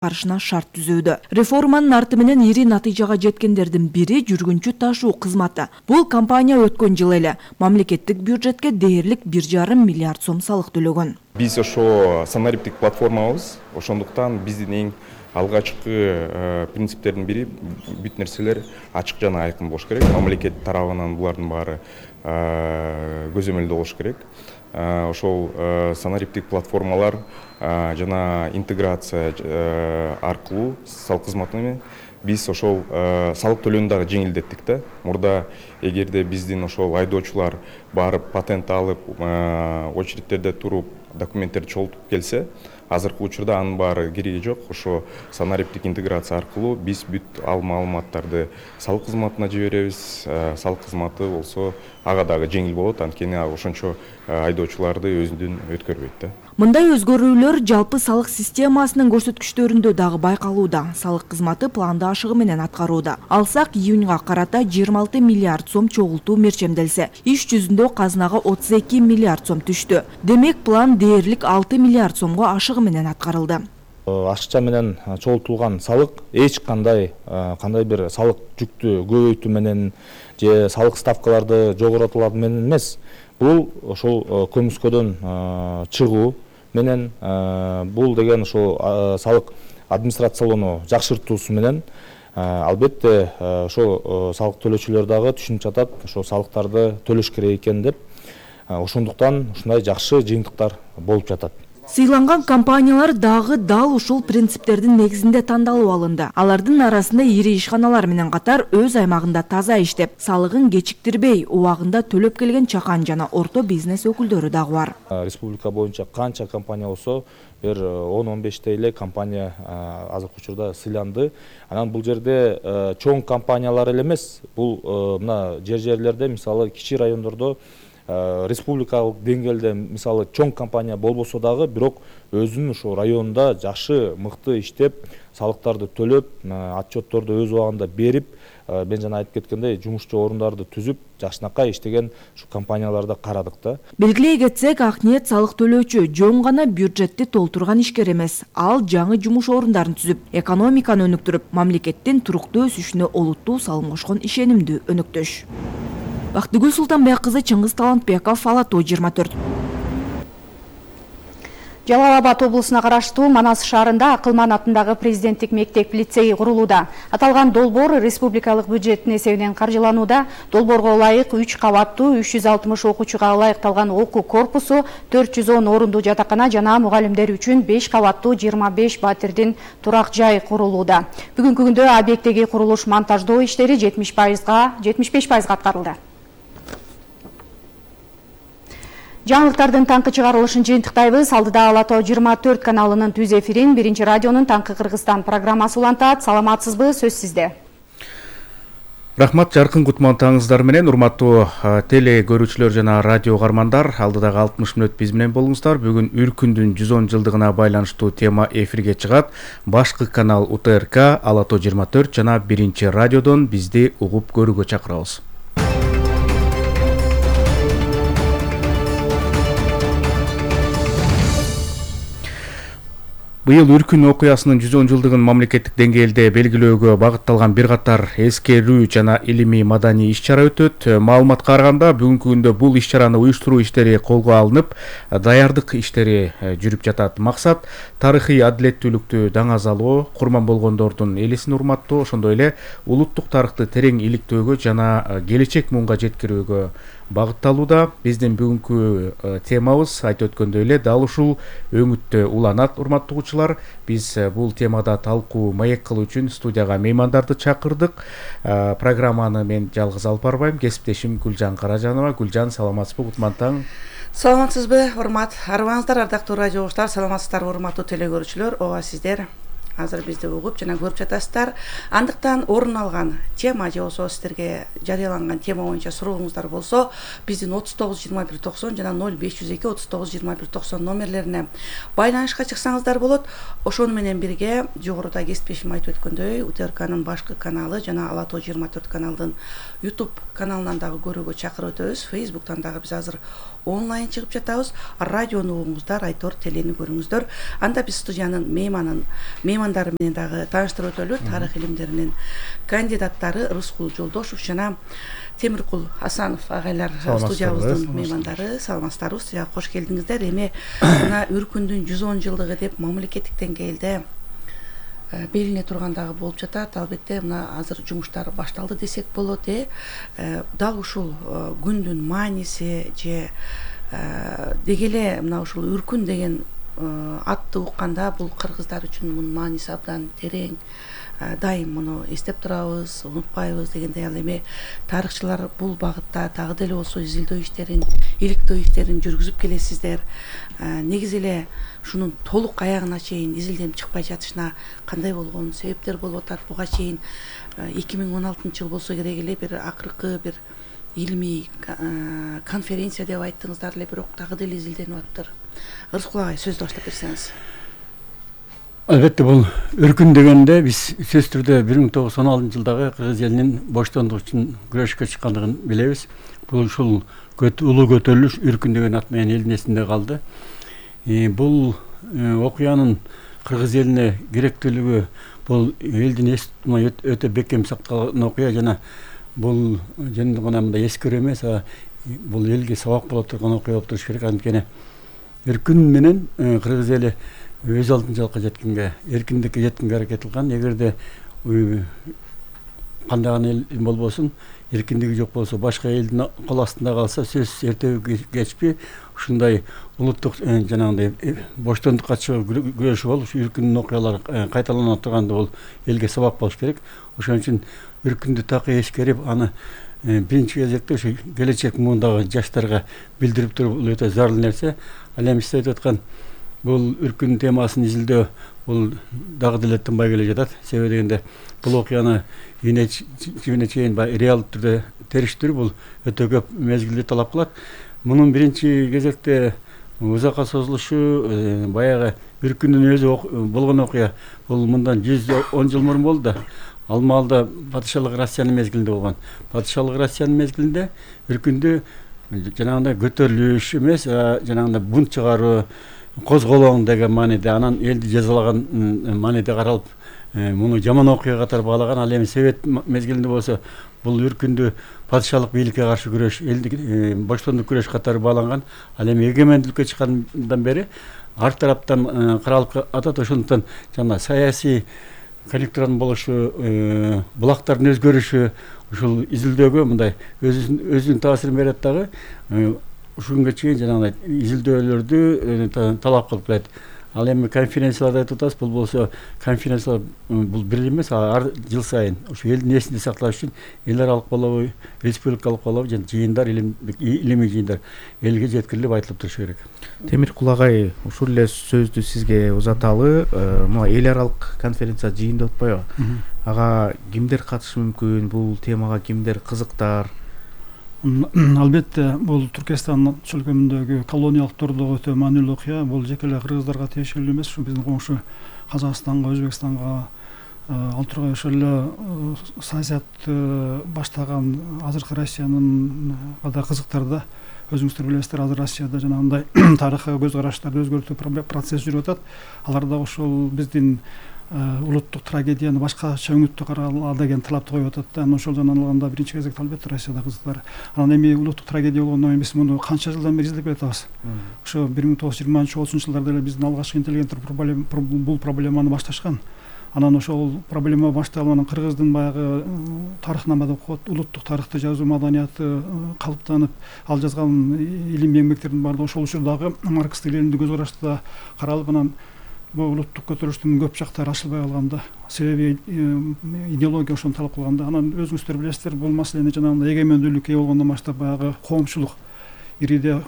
карышына шарт түзүүдө. Реформанын арты менен ири натыйжага жеткендердин бири жүргүнчү ташуу кызматы. Бул компания өткөн жылы эле мамлекеттик бюджетке дээрлик 1,5 миллиард сом салык төлөгөн. Биз ошо санариптик платформабыз, ошондуктан биздин эң алгачкы принциптердин бири бүт нерселер ачык жана айкын болуш керек. Мамлекет тарабынан булардын баары көзөмөлдүү болуш керек. Ошол санариптик платформалар жана интеграция аркылуу салык кызматына биз ошол салык төлөөнү дагы жеңилдеттик да. Мурда эгерде биздин ошол айдоочулар барып патент алып, очередтерде туруп, документтерди чогултуп келсе, азыркы учурда анын баары кереги жок. Ошо санариптик интеграция аркылуу биз бүт ал маалыматтарды салык кызматына жиберебиз. Салык кызматы болсо ага дагы жеңил болот, анткени ошончо айдоочуларды өзүнөн өткөрбөйт да. Мындай өзгөрүүлөр жалпы салык системасынын көрсөткүчтөрүндө дагы байкалууда. Салык кызматы планды ашыгы менен аткарууда. Алсак, июньга карата 26 миллиард сом чогултуу мерчемделсе, иш жүзүндө казынага 32 миллиард сом түштү. Демек, план дээрлик 6 миллиард сомго ашыгы менен аткарылды. Ашыкча менен чогултулган салык эч кандай бир салык жүктү көбөйтүү менен же салык ставкаларды жогоротулуу менен эмес. Бул ошол көмүскөдөн чыгуу менен, бул деген ошол салык администрациялоону жакшыртуусу менен албетте ошол салык төлөөчүлөр дагы түшүнүп жатат, ошол салыктарды төлөш керек экен деп. Ошондуктан ушундай жакшы жыйынтыктар болуп жатат. Сыйланган компаниялар дагы дал ушул принциптердин негизинде тандалып алынды. Алардын арасында ири ишканалар менен катар өз аймагында таза иштеп, салыгын кечиктирбей, убагында төлөп келген чакан жана орто бизнес өкүлдөрү дагы бар. Республика боюнча канча компания болсо, бир 10-15 эле компания азыркы учурда сыйланды. Анан бул жерде чоң компаниялар эле эмес, бул мына жерлерде, мисалы кичи райондордо республикалык деңгээлде мисалы чоң компания болбосо дагы, бирок өзүнүн ошо районунда жакшы, мыкты иштеп, салыктарды төлөп, отчетторду өз убагында берип, мен жана айтып кеткендей, жумушчу орундарды түзүп, жакшынакай иштеген ушу компанияларды карадык да. Белгилей кетсек, Акниет салык төлөөчү жөн гана бюджетти толтурган ишкер эмес. Ал жаңы жумуш орундарын түзүп, экономиканы өнүктүрүп, мамлекеттин туруктуу өсүшүнө олуттуу салым кошкон ишенимдүү өнөктөш. Бактыгүл Султанбек кызы, Чыңгыз Талантбеков, Ала Тоо 24. Жалал Абад облусуна караштуу Манас шаарында Акылман атындагы президенттик мектеп-лицей курулууда. Аталган долбоор республикалык бюджеттин эсебинен каржыланууда. Долбоорго ылайык 3 кабаттуу 360 окуучуга ылайыкталган окуу корпусу, 410 орундуу жатакана жана мугалимдер үчүн 5 кабаттуу 25 батирдин турак жай курулууда. Бүгүнкү күндө объекттеги курулуш монтаждоо иштери 75% аткарылды. Жаңылыктардын таңкы чыгарылышын жыйынтыктайбыз. Алдыда Ала Тоо 24 каналынын түз эфирин Биринчи радионун Таңкы Кыргызстан программасы улантат. Саламатсызбы, сөз сизде. Рахмат, жаркын кутман таңыңыздар менен, урматтуу теле көрүүчүлөр жана радио угармандар. Алдыдагы 60 мүнөт биз менен болуңуздар. Бүгүн Үркүндүн 110 жылдыгына байланыштуу тема эфирге чыгат. Башкы канал УТРК, Ала Тоо 24 жана Биринчи радиодон бизди угуп көрүүгө чакырабыз. Быйыл Үркүн окуясынын 110 жылдыгын мамлекеттик деңгээлде белгилөөгө багытталган бир катар эскерүү жана илимий маданий иш-чара өтөт. Маалыматка караганда, бүгүнкү күндө бул иш-чараны уюштуруу иштери колго алынып, даярдык иштери жүрүп жатат. Максат тарыхый адилеттүүлүктү даңазалоо, курман болгондордун элесин урматтоо, ошондой эле улуттук тарыхты терең иликтөөгө жана келечек муунга жеткирүүгө багытталууда. Биздин бүгүнкү темабыз айтып өткөндөй эле дал ушул өңүттө уланат, урматтуу угуучулар. Биз бул темада талкуу маек кылуу үчүн студияга меймандарды чакырдык. Программаны мен жалгыз алып барбайм, кесиптешим Гүлжан Каражанова. Гүлжан, саламатсызбы, кутман таң. Саламатсызбы, урмат арыбаңыздар, ардактуу радио угуучулар, саламатсыздарбы, урматтуу теле көрүүчүлөр. Ооба, сиздер азыр бизди угуп жана көрүп жатасыздар. Андыктан орун алган тема же болсо сиздерге жарыяланган тема боюнча сурооңуздар болсо, биздин 39-21-90 жана 0502-39-21-90 номерлерине байланышка чыксаңыздар болот. Ошону менен бирге жогоруда кесиптешим айтып өткөндөй, УТРКнын башкы каналы жана Ала Тоо 24 каналдын YouTube каналынан дагы көрүүгө чакырып өтөбүз. Facebook'тан дагы биз азыр онлайн чыгып жатабыз. Радиону угуңуздар, Айтор телени көрүңүздөр. Анда биз студиянын меймандары менен дагы тааныштырып өтөлү. Тарых илимдеринин кандидаттары Рыскул Жолдошев жана Темиркул Асанов агайлар студиябыздын меймандары. Саламатсыздарбы? Студияга кош келдиңиздер. Эми мына Үркүндүн 110 жылдыгы деп мамлекеттик деңгээлде белгилене тургандагы болуп жатат. Албетте мына азыр жумуштар башталды десек болот. Дал ушул күндүн мааниси же деги эле мына ушул Үркүн деген атты укканда бул кыргыздар үчүн мунун мааниси абдан терең. Дайым муну эстеп турабыз, унутпайбыз дегендей. Ал эми тарыхчылар бул багытта дагы деле болсо изилдөө иштерин, иликтөө иштерин жүргүзүп келесиздер. Негизи эле ушунун толук аягына чейин изилденип чыкпай жатышына кандай болгон себептер болуп атат? Буга чейин 2016 жыл болсо керек эле бир акыркы бир илимий конференция деп айттыңыздар эле, бирок дагы деле изилденип атыптыр. Рыскул агай, сөздү баштап берсеңиз. Албетте бул Үркүн дегенде биз сөзсүз түрдө 1916 жылдагы кыргыз элинин боштондук үчүн күрөшкө чыккандыгын билебиз. Бул ушул улуу көтөрүлүш Үркүн деген ат менен элдин эсинде калды. Бул окуянын кыргыз элине керектүүлүгү бул элдин эсинде өтө бекем сакталган окуя жана бул жөн гана мындай эскерүү эмес, бул элге сабак боло турган окуя болуп туруш керек. Анткени Үркүн менен кыргыз эли өз алдынчалыкка жеткенге, эркиндикке жеткенге аракет кылган. Эгерде кандайгы эл болбосун, эркиндиги жок болсо, башка элдин кол астында калса, сөзсүз эртеби кечпи ушундай улуттук жанагындай боштондукка чыгуу күрөшү болуп, ушу Үркүндүн окуялары кайталана турганда бул элге сабак болуш керек. Ошон үчүн Үркүндү так эскерип, аны биринчи кезекте ушу келечек муундагы жаштарга билдирип туруп, бул өтө зарыл нерсе. Ал эми сиз айтып аткан бул Үркүн темасын изилдөө бул дагы деле тынбай келе жатат. Себеби дегенде бул окуяны жибине чейин реалдуу түрдө териштирүү бул өтө көп мезгилди талап кылат. Мунун биринчи кезекте узакка созулушу баягы Үркүндүн өзү болгон окуя бул мындан 110 жыл мурун болду да. Ал маалда падышалык Россиянын мезгилинде болгон. Падышалык Россиянын мезгилинде Үркүндү жанагындай көтөрүлүш эмес, жанагындай бунт чыгаруу, козголоң деген мааниде, анан элди жазалаган мааниде каралып, муну жаман окуя катары баалаган. Ал эми Совет мезгилинде болсо бул Үркүндү падышалык бийликке каршы күрөш, элди боштондук күрөш катары бааланган. Ал эми эгемендүүлүккө чыккандан бери ар тараптан каралып атат. Ошондуктан жана саясий конъюнктуранын болушу, булактардын өзгөрүшү ушул изилдөөгө мындай өзүнүн таасирин берет дагы. Ушул күнгө чейин жанагындай изилдөөлөрдү талап кылып келет. Ал эми конференцияларда айтып атабыз, бул болсо конференциялар бул бир эмес, ар жыл сайын ушу элдин эсинде сакталыш үчүн эл аралык болобу, республикалык болобу, жана жыйындар, илимий жыйындар элге жеткирилип айтылып турушу керек. Темиркул агай, ушул эле сөздү сизге узаталы. Мына эл аралык конференция жыйын деп атпайбы? Ага кимдер катышы мүмкүн? Бул темага кимдер кызыктар? Албетте бул Түркистан чөлкөмүндөгү колониялык турдагы өтө маанилүү окуя. Бул жеке эле кыргыздарга тиешелүү эмес, ушу биздин коңшу Казакстанга, Өзбекстанга, ал тургай ошол эле саясат баштаган азыркы Россиянын да кызыктарды. Өзүңүздөр билесиздер, азыр Россияда жанагындай тарыхый көз караштарды өзгөртүү процесси жүрүп атат. Алар да ошол биздин улуттук трагедияны башкача өңүттө карала деген талапты коюп атат. Анан ошол жагынан алганда биринчи кезекте албетте Россияда кызыктар. Анан эми улуттук трагедия болгондон кийин биз муну канча жылдан бери изилдеп келатабыз. Ошо 1920-30 жылдарда эле биздин алгачкы интеллигенттер бул проблеманы башташкан. Анан ошол проблема башталып, анан кыргыздын баягы тарыхнамада улуттук тарыхты жазуу маданияты калыптанып, ал жазган илимий эмгектердин баардыгы ошол учурдагы марксистик лениндик көз карашта каралып, анан бул улуттук көтөрүлүштүн көп жактары ачылбай калганда, себеби идеология ошону талап кылганда. Анан өзүңүздөр билесиздер, бул маселени жанагындай эгемендүүлүккө болгондон баштап баягы коомчулук, ириде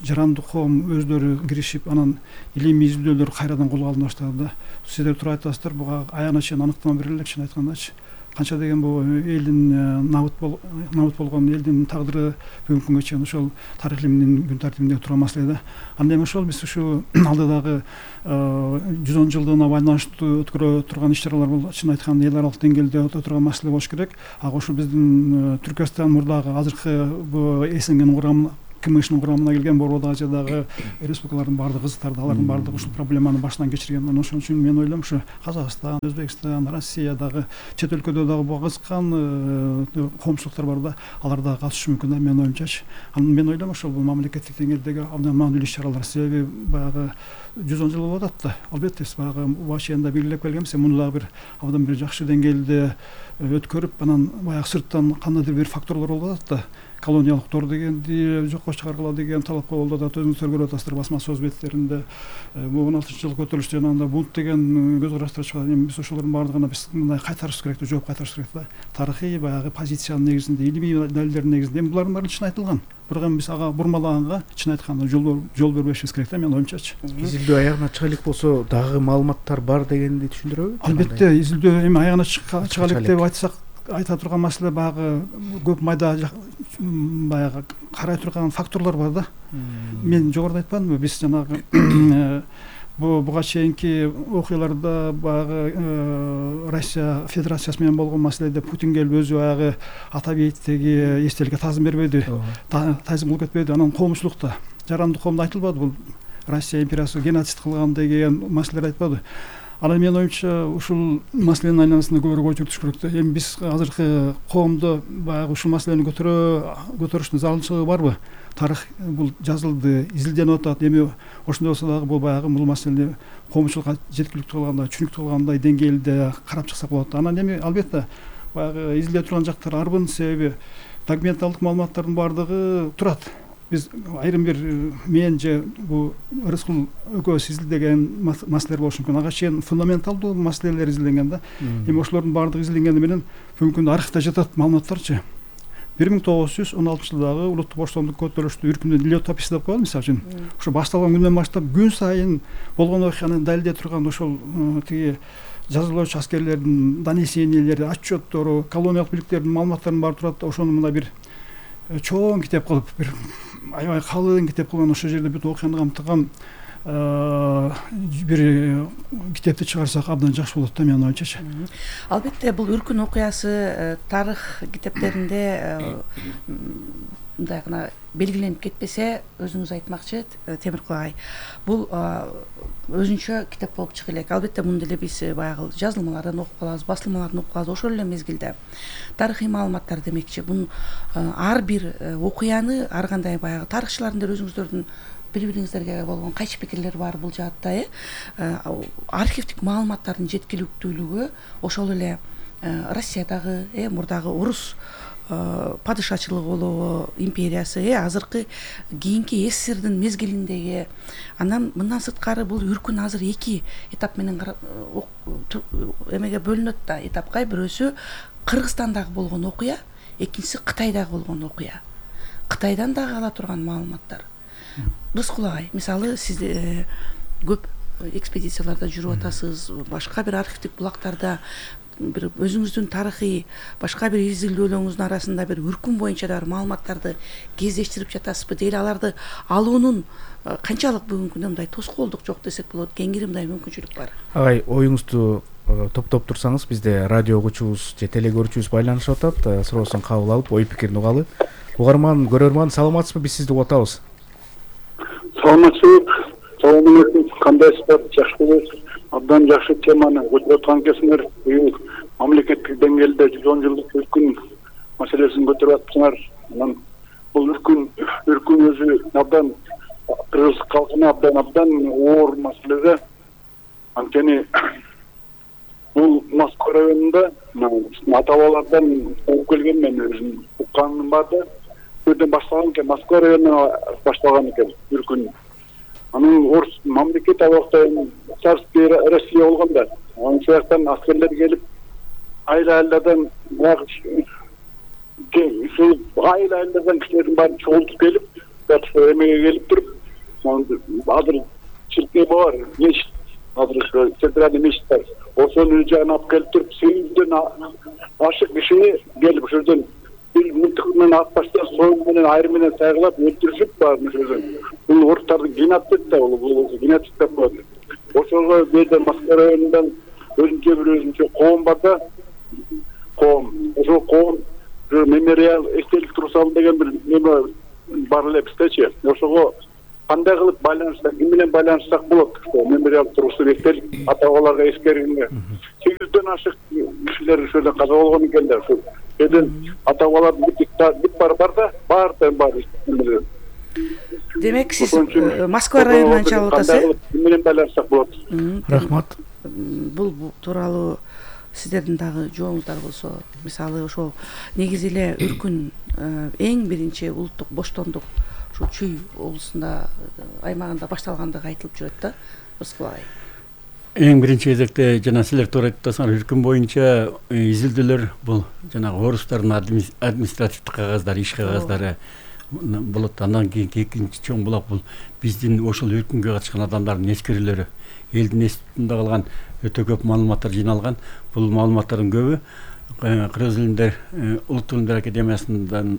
жарандык коом өздөрү киришип, анан илимий изилдөөлөр кайрадан колго алына баштады да. Сиздер туура айтасыздар, буга аягына чейин аныктама бере элек, чын айткандачы. Канча деген бул элдин набыт болгон элдин тагдыры бүгүнкү күнгө чейин ошол тарых илиминин күн тартибинде турган маселе да. Анда эми ошол биз ушу алдыдагы 110 жылдыгына байланыштуу өткөрө турган иш-чаралар бул чын айтканда эл аралык деңгээлде өтө турган маселе болуш керек. Ага ошо биздин Түркистан мурдагы азыркы бу эсенген КМШнын курамына келген Борбордук Азиядагы республикалардын баардык кызыктарды, алардын баардыгы ушул проблеманы башынан кечирген. Ошон үчүн мен ойлойм ушу Казакстан, Өзбекстан, Россия дагы чет өлкөдө дагы буга кызыккан коомчулуктар бар да, алар дагы катышышы мүмкүн да менин оюмчачы. Анан мен ойлойм ошол мамлекеттик деңгээлдеги абдан маанилүү иш-чаралар, себеби баягы 110 жыл болуп атат да. Албетте баягы башында белгилеп келгенбиз, муну дагы бир абдан бир жакшы деңгээлде өткөрүп, анан баягы сырттан кандайдыр бир факторлор болуп атат да. Колониялык тор дегенди жокко чыгаргыла деген талап коюлуп атат. Өзүңүздөр көрүп атасыздар басма сөз беттеринде. Бул 16-жылкы көтөрүлүштө анда бунт деген көз караштар чыгат. Эми биз ошолордун баардыгына биз мындай кайтарышыбыз керек, жооп кайтарышыбыз керек да. Тарыхый баягы позициянын негизинде, илимий далилдердин негизинде. Эми булардын баары чын айтылган. Бирок эми биз ага бурмалаганга чын айтканда жол бербешибиз керек да менин оюмчачы. Изилдөө аягына чыга элек болсо дагы маалыматтар бар дегенди түшүндүрөбү? Албетте, изилдөө эми аягына чыга элек деп айтсак, айта турган маселе баягы көп майда баягы карай турган факторлор бар да. Мен жогоруда айтпадымбы, биз жанагы буга чейинки окуяларда баягы Россия Федерациясы менен болгон маселеде Путин келип өзү баягы ата бейиттеги эстеликке таазим бербеди, таазим кылып кетпеди. Анан коомчулукта, жарандык коомдо айтылбады бул Россия империясы геноцид кылган деген маселелер айтпады. Анан менин оюмча ушул маселенин айланасында көбүрөөк ой жүргүзүш керек да. Эми биз азыркы коомдо баягы ушул маселени көтөрүштүн зарылчылыгы барбы? Тарых бул жазылды, изилденип атат. Эми ошондой болсо дагы бул баягы бул маселени коомчулукка жеткиликтүү кылгандай, түшүнүктүү кылгандай деңгээлде карап чыксак болот. Анан эми албетте баягы изилдей турган жактар арбын, себеби документалдык маалыматтардын баардыгы турат. Биз айрым бир мен же бул Рыскул экөөбүз изилдеген маселелер болушу мүмкүн. Ага чейин фундаменталдуу маселелер изилденген да. Эми ошолордун баардыгы изилденгени менен бүгүнкү күндө архивде жатат маалыматтарчы. 1916 жылдагы улуттук боштондук көтөрүлүштү үркүндүн летописи деп коебуз, мисалы үчүн. Ошо башталган күндөн баштап күн сайын болгон окуяны далилдей турган ошол тиги жазылуучу аскерлердин донесениялери, отчеттору, колониялык бийликтердин маалыматтарын баары турат. Ошону мына бир чоң китеп кылып, бир аябай калың китеп кылган, ошол жерде бүт окуяны камтыган бир китепти чыгарсак абдан жакшы болот да менин оюмчачы. Албетте бул үркүн окуясы тарых китептеринде мындай гана белгиленип кетпесе, өзүңүз айтмакчы Темиркул агай, бул өзүнчө китеп болуп чыга элек. Албетте муну деле биз баягы жазылмалардан окуп калабыз, басылмалардан окуп калабыз. Ошол эле мезгилде тарыхый маалыматтар демекчи, бул ар бир окуяны ар кандай баягы тарыхчылардын деле өзүңүздөрдүн бири-бириңиздерге болгон кайчы пикирлер бар бул жаатта. Архивдик маалыматтардын жеткиликтүүлүгү ошол эле Россиядагы мурдагы орус падышачылыгы болобу, империясы, азыркы кийинки СССРдин мезгилиндеги, анан мындан сырткары бул үркүн азыр эки этап менен эмеге бөлүнөт да, этапка. Бирөөсү Кыргызстандагы болгон окуя, экинчиси Кытайдагы болгон окуя. Кытайдан дагы ала турган маалыматтар. Рыскул агай, мисалы сиз көп экспедицияларда жүрүп атасыз, башка бир архивдик булактарда бир өзүңүздүн тарыхый башка бир изилдөөлөрүңүздүн арасында бир үркүн боюнча да маалыматтарды кездештирип жатасызбы? Дейли аларды алуунун канчалык бүгүнкү күндө мындай тоскоолдук жок десек болот, кеңири мындай мүмкүнчүлүк бар? Агай, оюңузду топтоп турсаңыз, бизде радио окуучубуз же телегөрүүчүбүз байланышып атат, суроосун кабыл алып, ой пикирин угалы. Угарман, көрөрман, саламатсызбы? Биз сизди угуп атабыз. Саламатсызбы? Салам алейкум. Кандайсыздар? Жакшы болосузбу? Абдан жакшы теманы көтөрүп аткан экенсиңер. Быйыл мамлекеттик деңгээлде 110 жылдык үркүн маселесин көтөрүп атсыңар. Анан бул үркүн өзү абдан кыргыз калкына абдан оор маселе. Анткени бул Москва районунда ата бабалардан угуп келген, мен өзүм укканым бар да. Бирден башталган экен, Москва районунан башталган экен үркүн. Анын орус мамлекет абакта царский Россия болгондо, анын сыяктан аскерлер келип, айыл-айылдардан айыл-айылдардан кишилердин баарын чогултуп келип, эмеге келип туруп, азыр чиркей бар, мечит, азыр центральный мечит бар. Ошонун жагына алып келип туруп, 800дөн ашык кишини келип ошол жерден бир мылтык менен ат баштап, союм менен айрым менен сайгылап өлтүрүшүп баарын ошол жерден. Бул орустардын геноцид да, бул геноцид деп коет. Ошого бирде Москва районундан өзүнчө коом бар да, коом. Ошол коом мемориал эстелик турсал деген бир неме бар эле биздечи. Ошого кандай кылып байланышсак, ким менен байланышсак болот? Мемориал тургусу бектелип, ата-бабаларга эскергенге 800дөн ашык кишилер ошол каза болгон экендер. Ошол жерден ата-бабалардын бүт бар да, бар. Демек сиз Москва районунан чалып атасыз. Ким менен байланышсак болот? Рахмат. Бул тууралуу сиздердин дагы жооңуздар болсо, мисалы ошол негизи эле Үркүн эң биринчи улуттук боштондук ушул Чүй облусунда аймагында башталгандыгы айтылып жүрөт да, Рыскул агай. Эң биринчи кезекте жана силер туура айтып атасыңар, Үркүн боюнча изилдөөлөр бул жанагы орустардын административдик кагаздары, иш кагаздары болот. Андан кийин экинчи чоң булак бул биздин ошол Үркүнгө катышкан адамдардын эскерүүлөрү. Элдин эстинде калган өтө көп маалыматтар жиналган. Бул маалыматтардын көбү Кыргыз илимдер Улуттук илимдер академиясындан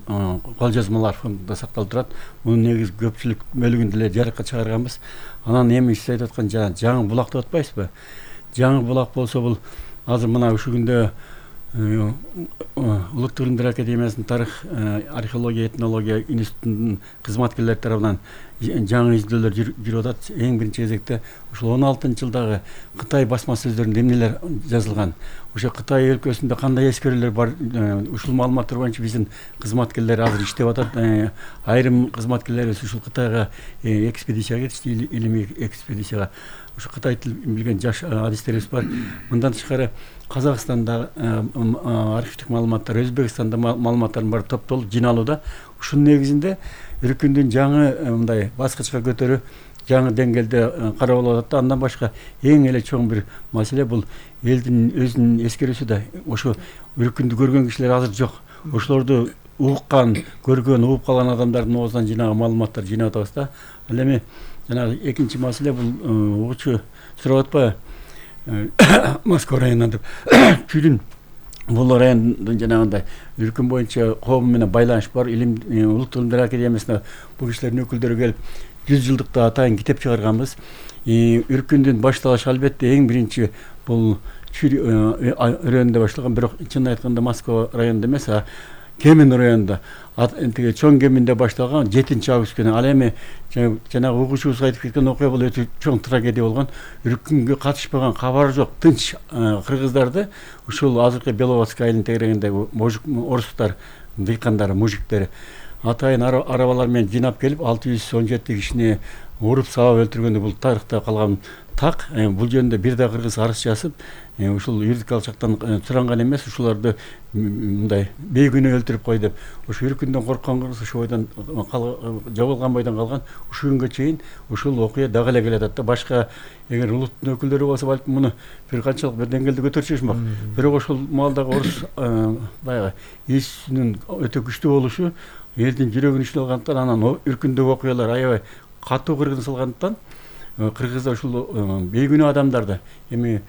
кол жазмалар фондунда сакталып турат. Мунун негизи көпчүлүк бөлүгүн эле жарыкка чыгарганбыз. Анан эми сиз айтып аткан жаңы булак деп атпайсызбы? Жаңы булак болсо бул азыр мына ушул күндө Улуттук илимдер академиясынын тарых, археология, этнология институтунун кызматкерлери тарабынан жаңы изилдөөлөр жүрүп атат. Эң биринчи кезекте ушул 16-жылдагы Кытай басма сөздөрүндө эмнелер жазылган, ошо Кытай өлкөсүндө кандай эскерүүлөр бар, ушул маалыматтар боюнча биздин кызматкерлер азыр иштеп атат. Айрым кызматкерлерибиз ушул Кытайга экспедицияга кетишти, илимий экспедицияга. Ушу Кытай тилин билген жаш адистерибиз бар. Мындан тышкары Казакстанда архивдик маалыматтар, Өзбекстанда маалыматтардын баары топтолуп жиналууда. Ушунун негизинде Үркүндүн жаңы мындай баскычка көтөрүү, жаңы деңгээлде карап алып атат. Андан башка эң эле чоң бир маселе бул элдин өзүнүн эскерүүсү да. Ошо Үркүндү көргөн кишилер азыр жок. Ошолорду уккан, көргөн, угуп калган адамдардын оозунан жинаган маалыматтар жыйнап атабыз да. Ал эми жанагы экинчи маселе бул угуучу сурап атпайбы? Москва районунан деп. Чүйдүн бул райондун жанагындай Үркүн боюнча коому менен байланыш бар. Улуттук илимдер академиясына бул кишилердин өкүлдөрү келип 100 жылдыкта атайын китеп чыгарганбыз. Үркүндүн башталышы албетте эң биринчи бул Чүй районунда башталган, бирок чын айтканда Москва районунда эмес, Кемин районунда, чоң Кеминде башталган 7-август күнү. Ал эми жанагы угуучубуз айтып кеткен окуя бул өтө чоң трагедия болгон. Үркүнгө катышпаган, кабары жок тынч кыргыздарды ушул азыркы Беловодская айылынын тегерегинде орустар, дыйкандар, мужиктери атайын арабалар менен жыйнап келип 617 кишини уруп сабап өлтүргөндө бул тарыхта калган так. Бул жөнүндө бир да кыргыз арыз жазып, ушул юридикалык жактан суранган эмес, ушуларды мындай бейгүнөө өлтүрүп кой деп. Ошо Үркүндөн корккон кыргыз ошо бойдон жабылган бойдон калган. Ушул күнгө чейин ушул окуя дагы эле келатат да. Башка эгер улуттун өкүлдөрү болсо балким муну бир канчалык бир деңгээлде көтөрчүшмөк. Бирок ошол маалдагы орус баягы эсинин өтө күчтүү болушу элдин жүрөгүн ичине алгандыктан, анан Үркүндөгү окуялар аябай катуу кыргын салгандыктан кыргыздар ушул бейгүнөө адамдарды, эми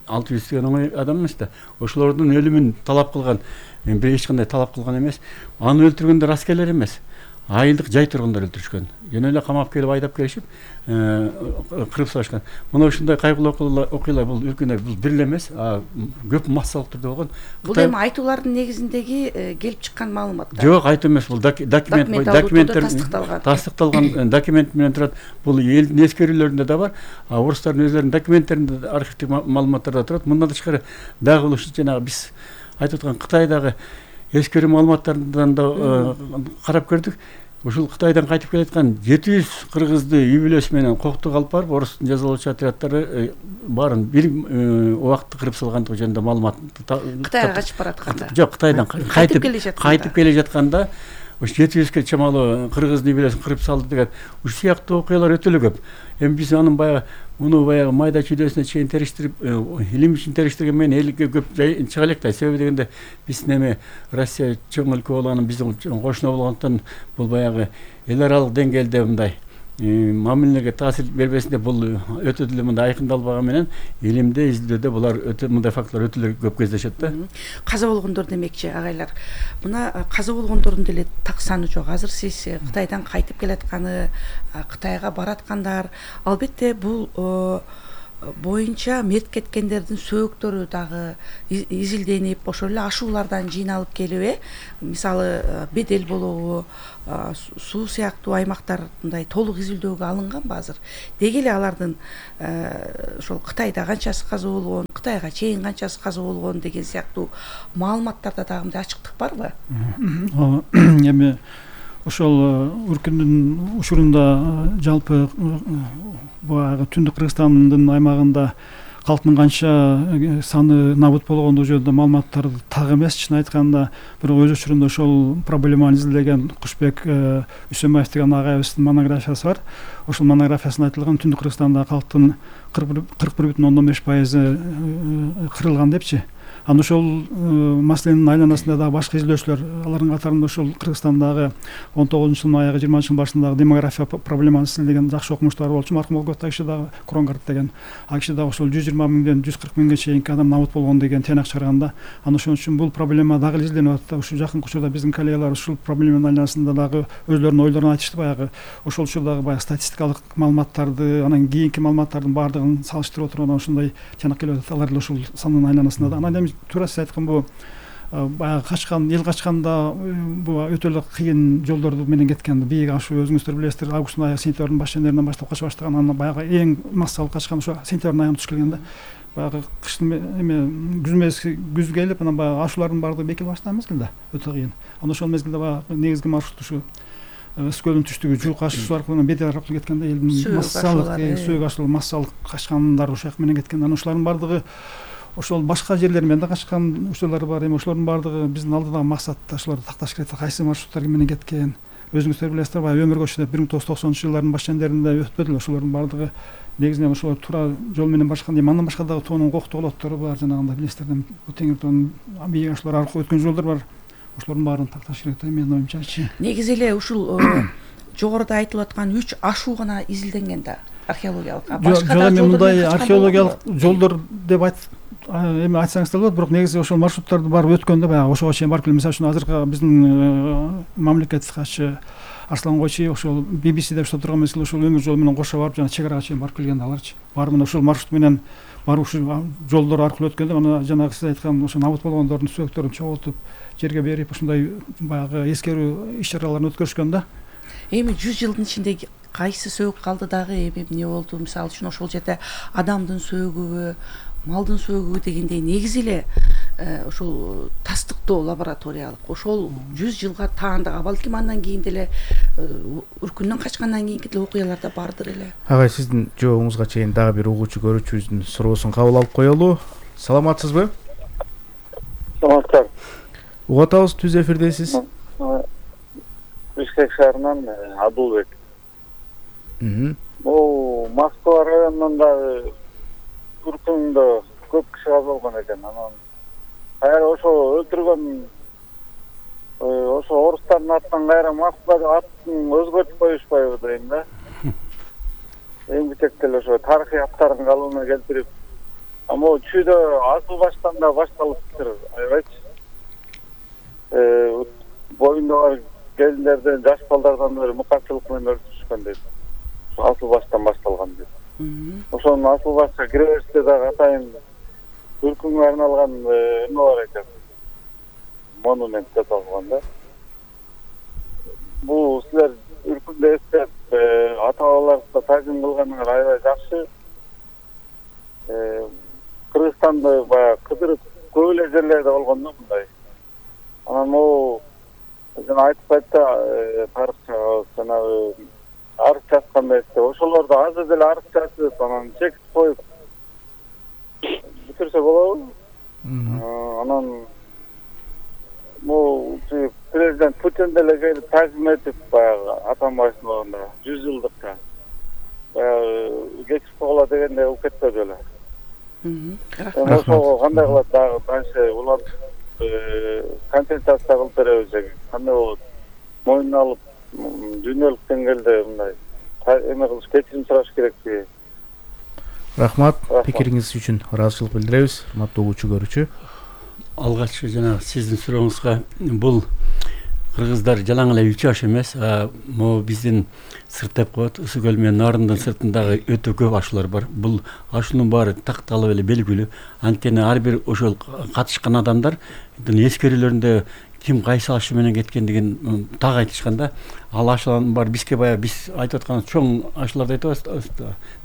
600 деген оңой адам эмес да, ошолордун өлүмүн талап кылган, бир эч кандай талап кылган эмес. Аны өлтүргөндөр аскерлер эмес, айылдык жай тургундар өлтүрүшкөн. Жөн эле камап келип айдап келишип кырып салышкан. Мына ушундай кайгылуу окуялар бул Үркүндө бул бир эле эмес, көп массалык түрдө болгон. Бул эми айтуулардын негизиндеги келип чыккан маалыматтар. Жок, айтуу эмес, бул документтер тастыкталган документ менен турат. Бул элдин эскерүүлөрүндө да бар, орустардын өзлөрүнүн документтеринде, архивдик маалыматтарда турат. Мындан тышкары дагы бул жанагы биз айтып аткан Кытайдагы эскерүү маалыматтарынан да карап көрдүк. Ушул Кытайдан кайтып келаткан 700 кыргызды үй бүлөсү менен коктук алып барып, орустун жазалоочу отряддары баарын бир убакытта кырып салгандыгы жөнүндө маалымат. Кытайга качып баратканда? Жок, Кытайдан кайтып келе жатканда ушу 700ге чамалуу кыргыздын үй бүлөсүн кырып салды деген ушул сыяктуу окуялар өтө эле көп. Эми биз анын муну майда чүйдөсүнө чейин териштирип, илим үчүн териштирген менен элге көп чыга элек да. Себеби дегенде биздин эми Россия чоң өлкө болгонун, биздин кошуна болгондуктан бул эл аралык деңгээлде мындай мамилеге таасир бербесин деп бул өтө деле мындай айкындалбаган менен илимде, изилдөөдө булар өтө мындай фактылар өтө эле көп кездешет да. Каза болгондор демекчи агайлар. Мына каза болгондордун деле так саны жок. Азыр сиз Кытайдан кайтып келатканы, Кытайга бараткандар, албетте бул боюнча мерт кеткендердин сөөктөрү дагы изилденип, ошол эле ашуулардан жыйналып келип, мисалы Бедел болобу, Суу сыяктуу аймактар мындай толук изилдөөгө алынганбы азыр? Деги эле алардын ошол Кытайда канчасы каза болгон, Кытайга чейин канчасы каза болгон деген сыяктуу маалыматтарда дагы мындай ачыктык барбы? Эми ошол үркүндүн учурунда жалпы баягы Түндүк Кыргызстандын аймагында калктын канча саны набыт болгондугу жөнүндө маалыматтар так эмес, чын айтканда. Бирок өз учурунда ошол проблеманы изилдеген Кушбек Үсөнбаев деген агайыбыздын монографиясы бар. Ошол монографиясында айтылган Түндүк Кыргызстанда калктын 41,5% кырылган депчи. Аны ошол маселенин айланасында дагы башка изилдөөчүлөр, алардын катарында ошол Кыргызстандагы 19-жылдын аягы 20-жылдын башындагы демография проблемасын изилдеген жакшы окумуштар болчу. Маркум Олгота киши дагы Кронгард деген, ал киши дагы ошол 120 миңден 140 миңге чейинки адам набыт болгон деген тыйнак чыгарганда, аны ошон үчүн бул проблема дагы изилденип атат. Ушу жакын учурда биздин коллегалар ушул проблеменин айланасында дагы өзлөрүнүн ойлорун айтышты. Баягы ошол учурдагы баягы статистикалык маалыматтарды, анан кийинки маалыматтардын баардыгын салыштырып отуруп ушундай тыйнак келип атат. Алар ошол санын айланасында да. Анан туура сиз айткан бул баягы качкан, эл качканда бул өтө эле кыйын жолдорду менен кеткен. Бийик ашуу өзүңүздөр билесиздер, августтун аягы, сентябрдын баш чендеринен баштап кача баштаган. Анан баягы эң массалык качкан ошо сентябрдын аягына туш келгенде. Баягы кыштын күз келип, анан баягы ашуулардын баардыгы бекип баштаган мезгилде өтө кыйын. Анан ошол мезгилде баягы негизги маршрут ушу Өскөлдүн түштүгү Жуук ашуусу аркылуу Бедел аркылуу кеткенде элдин массалык сөөк ашуу массалык качкандар ошол жак менен кеткен. Анан ошолордун баардыгы ошол башка жерлер менен да качкан учурлар бар. Эми ошолордун баардыгы биздин алдыдагы максатта ошолорду такташ керек. Кайсы маршруттар менен кеткен? Өзүңүздөр билесиздер, баягы өмүр көчүдө 1990-жылдардын баш чендеринде өтпөдүлө. Ошолордун баардыгы негизинен ошолор туура жол менен барышкан дейм. Андан башка дагы тоонун коктолоттору бар, жанагындай билесиздер, Теңир тоонун бийик ашуулар аркылуу өткөн жолдор бар. Ошолордун баарын такташ керек да, менин оюмчачы. Негизи эле ушул жогоруда айтылып аткан 3 ашуу гана изилденген да, археологиялык. Башка да мындай археологиялык жолдор деп эми айтсаңыз да болот, бирок негизи ошол маршруттарды барып өткөндө баягы ошого чейин барып келген. Мисалы үчүн азыркы биздин мамлекеттик катчы Арслан Койчи ошол BBC деп турган мезгил ошол өмүр жолу менен кошо барып жана чек арага чейин барып келген аларчы. Барып ошол маршрут менен барып ушул жолдор аркылуу өткөндө мына жанагы сиз айткан ошо набыт болгондордун сөөктөрүн чогултуп жерге берип ушундай баягы эскерүү иш-чараларын өткөрүшкөн да. Эми 100 жылдын ичинде кайсы сөөк калды дагы, эми эмне болду? Мисалы үчүн ошол жерде адамдын сөөгүбү, малдын сөөгүбү дегендей негизи эле ошол тастыктоо лабораториялык ошол 100 жылга таандык, балким андан кийин деле үркүндөн качкандан кийинки деле окуялар да бардыр эле. Агай, сиздин жообуңузга чейин дагы бир угуучу көрүүчүбүздүн суроосун кабыл алып коелу. Саламатсызбы? Саламатсыздар. Угуп атабыз, түз эфирдесиз. Бишкек шаарынан Абдулбек. Бул Москва районунан дагы үркүндө көп киши каза болгон экен. Анан кайра ошо өлтүргөн ошо орустардын атынан кайра Москва атын өзгөртүп коюшпайбы дейм да. Эң бутекте эле ошо тарыхый аттарын калыбына келтирип, могу чүйдө асыл баштан да башталыптыр, аябайчы. Боюнда бар келиндерден, жаш балдардан бери мукачылык менен өлтүрүшкөн дейт. Асыл баштан башталган дейт. Ошонун асыл башка кире бериште дагы атайын үркүнгө арналган эме бар экен. Монумент жасалган да. Бул силер үркүндө эстеп ата-бабаларыбызга таазим кылганыңар аябай жакшы. Кыргызстанды баягы кыдырып көп эле жерлерде болгон да мындай. Анан могу жана айтып айтты тарыхчыбыз жанагы арыз жазгандай эсте. Ошолорду азыр деле арыз жазып, анан чекип коюп бүтүрсө болобу? Анан могу президент Путин деле келип таазим этип баягы Атамбаевдин ордунда 100 жылдыкка баягы кечип койгула дегендей кылып кетпеди беле. Ошого кандай кылат дагы канча улам компенсация кылып беребиз же кандай болот? Мойнуна алып дүйнөлүк деңгээлде мындай эме кылыш, кечирим сураш керекпи? Рахмат, пикириңиз үчүн ыраазычылык билдиребиз, урматтуу угуучу көрүүчү. Алгач жана сиздин сурооңузга бул кыргыздар жалаң эле 3 жаш эмес, могу биздин сырт деп коет, Ысык көл менен Нарындын сыртындагы өтө көп ашуулар бар. Бул ашуунун баары такталып эле белгилүү. Анткени ар бир ошол катышкан адамдар эскерүүлөрүндө ким кайсы ашы менен кеткендигин так айтышканда, ал ашулардын баары бизге баягы биз айтып аткан чоң ашууларды айтып атабыз.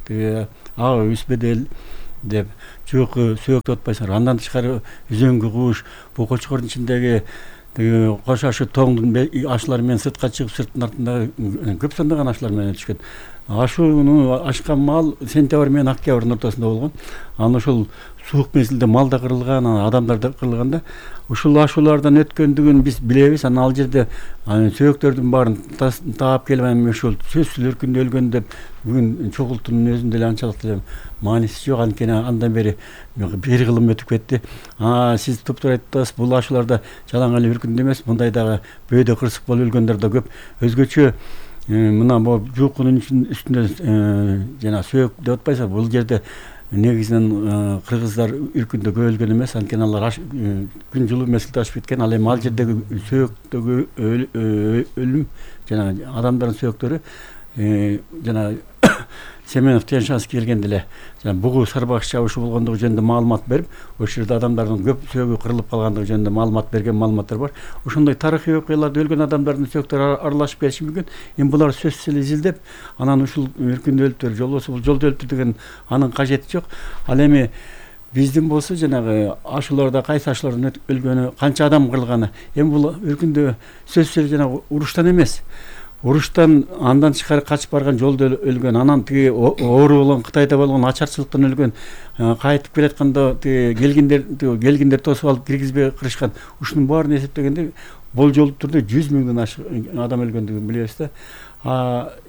Тиги ага үсбедел деп жөөкө сөөк деп атпайсыңар. Андан тышкары үзөңгү куш, бул Кочкордун ичиндеги кош ашы тоңдун ашуулары менен сыртка чыгып, сырттын артындагы көп сандаган ашуулар менен өтүшкөн. Ашууну ашкан мал сентябрь менен октябрдын ортосунда болгон. Анан ошол суук мезгилде мал да кырылган, адамдар да кырылганда ушул ашуулардан өткөндүгүн биз билебиз. Анан ал жерде сөөктөрдүн баарын таап келип, эми ошол сөзсүз өркүндө өлгөн деп бүгүн чогултуунун өзүндө эле анчалык деле мааниси жок. Анткени андан бери бир кылым өтүп кетти. Сиз туптуура айттыңыз, бул ашууларда жалаң эле өркүндө эмес, мындай дагы бөөдө кырсык болуп өлгөндөр да көп. Өзгөчө мына бул жуукунун үстүндө жана сөөк деп атпайсызбы, бул жерде негизинен кыргыздар үркүндө көп өлгөн эмес, анткени алар күн жылуу мезгилде ашып кеткен. Ал эми ал жердеги сөөктөгү өлүм жана адамдардын сөөктөрү жана Семенов Тяньшанский келгенде эле бугу сарбак чабышы болгондугу жөнүндө маалымат берип, ошол жерде адамдардын көп сөөгү кырылып калгандыгы жөнүндө маалымат берген маалыматтар бар. Ошондой тарыхый окуяларда өлгөн адамдардын сөөктөрү аралашып келиши мүмкүн. Эми булар сөзсүз эле изилдеп, анан ушул өркүндө өлтүр, жолбосо бул жолдо өлтүр деген анын кажети жок. Ал эми биздин болсо жанагы ашууларда кайсы ашуулардан өлгөнү, канча адам кырылганы, эми бул өркүндө сөзсүз эле жанагы уруштан эмес. Уруштан андан тышкары качып барган, жолдо өлгөн, анан тиги оору болгон, Кытайда болгон ачарчылыктан өлгөн, кайтып келатканда келгиндер тосуп алып киргизбей кырышкан. Ушунун баарын эсептегенде болжолдуу түрдө 100 миңден ашык адам өлгөндүгүн билебиз да.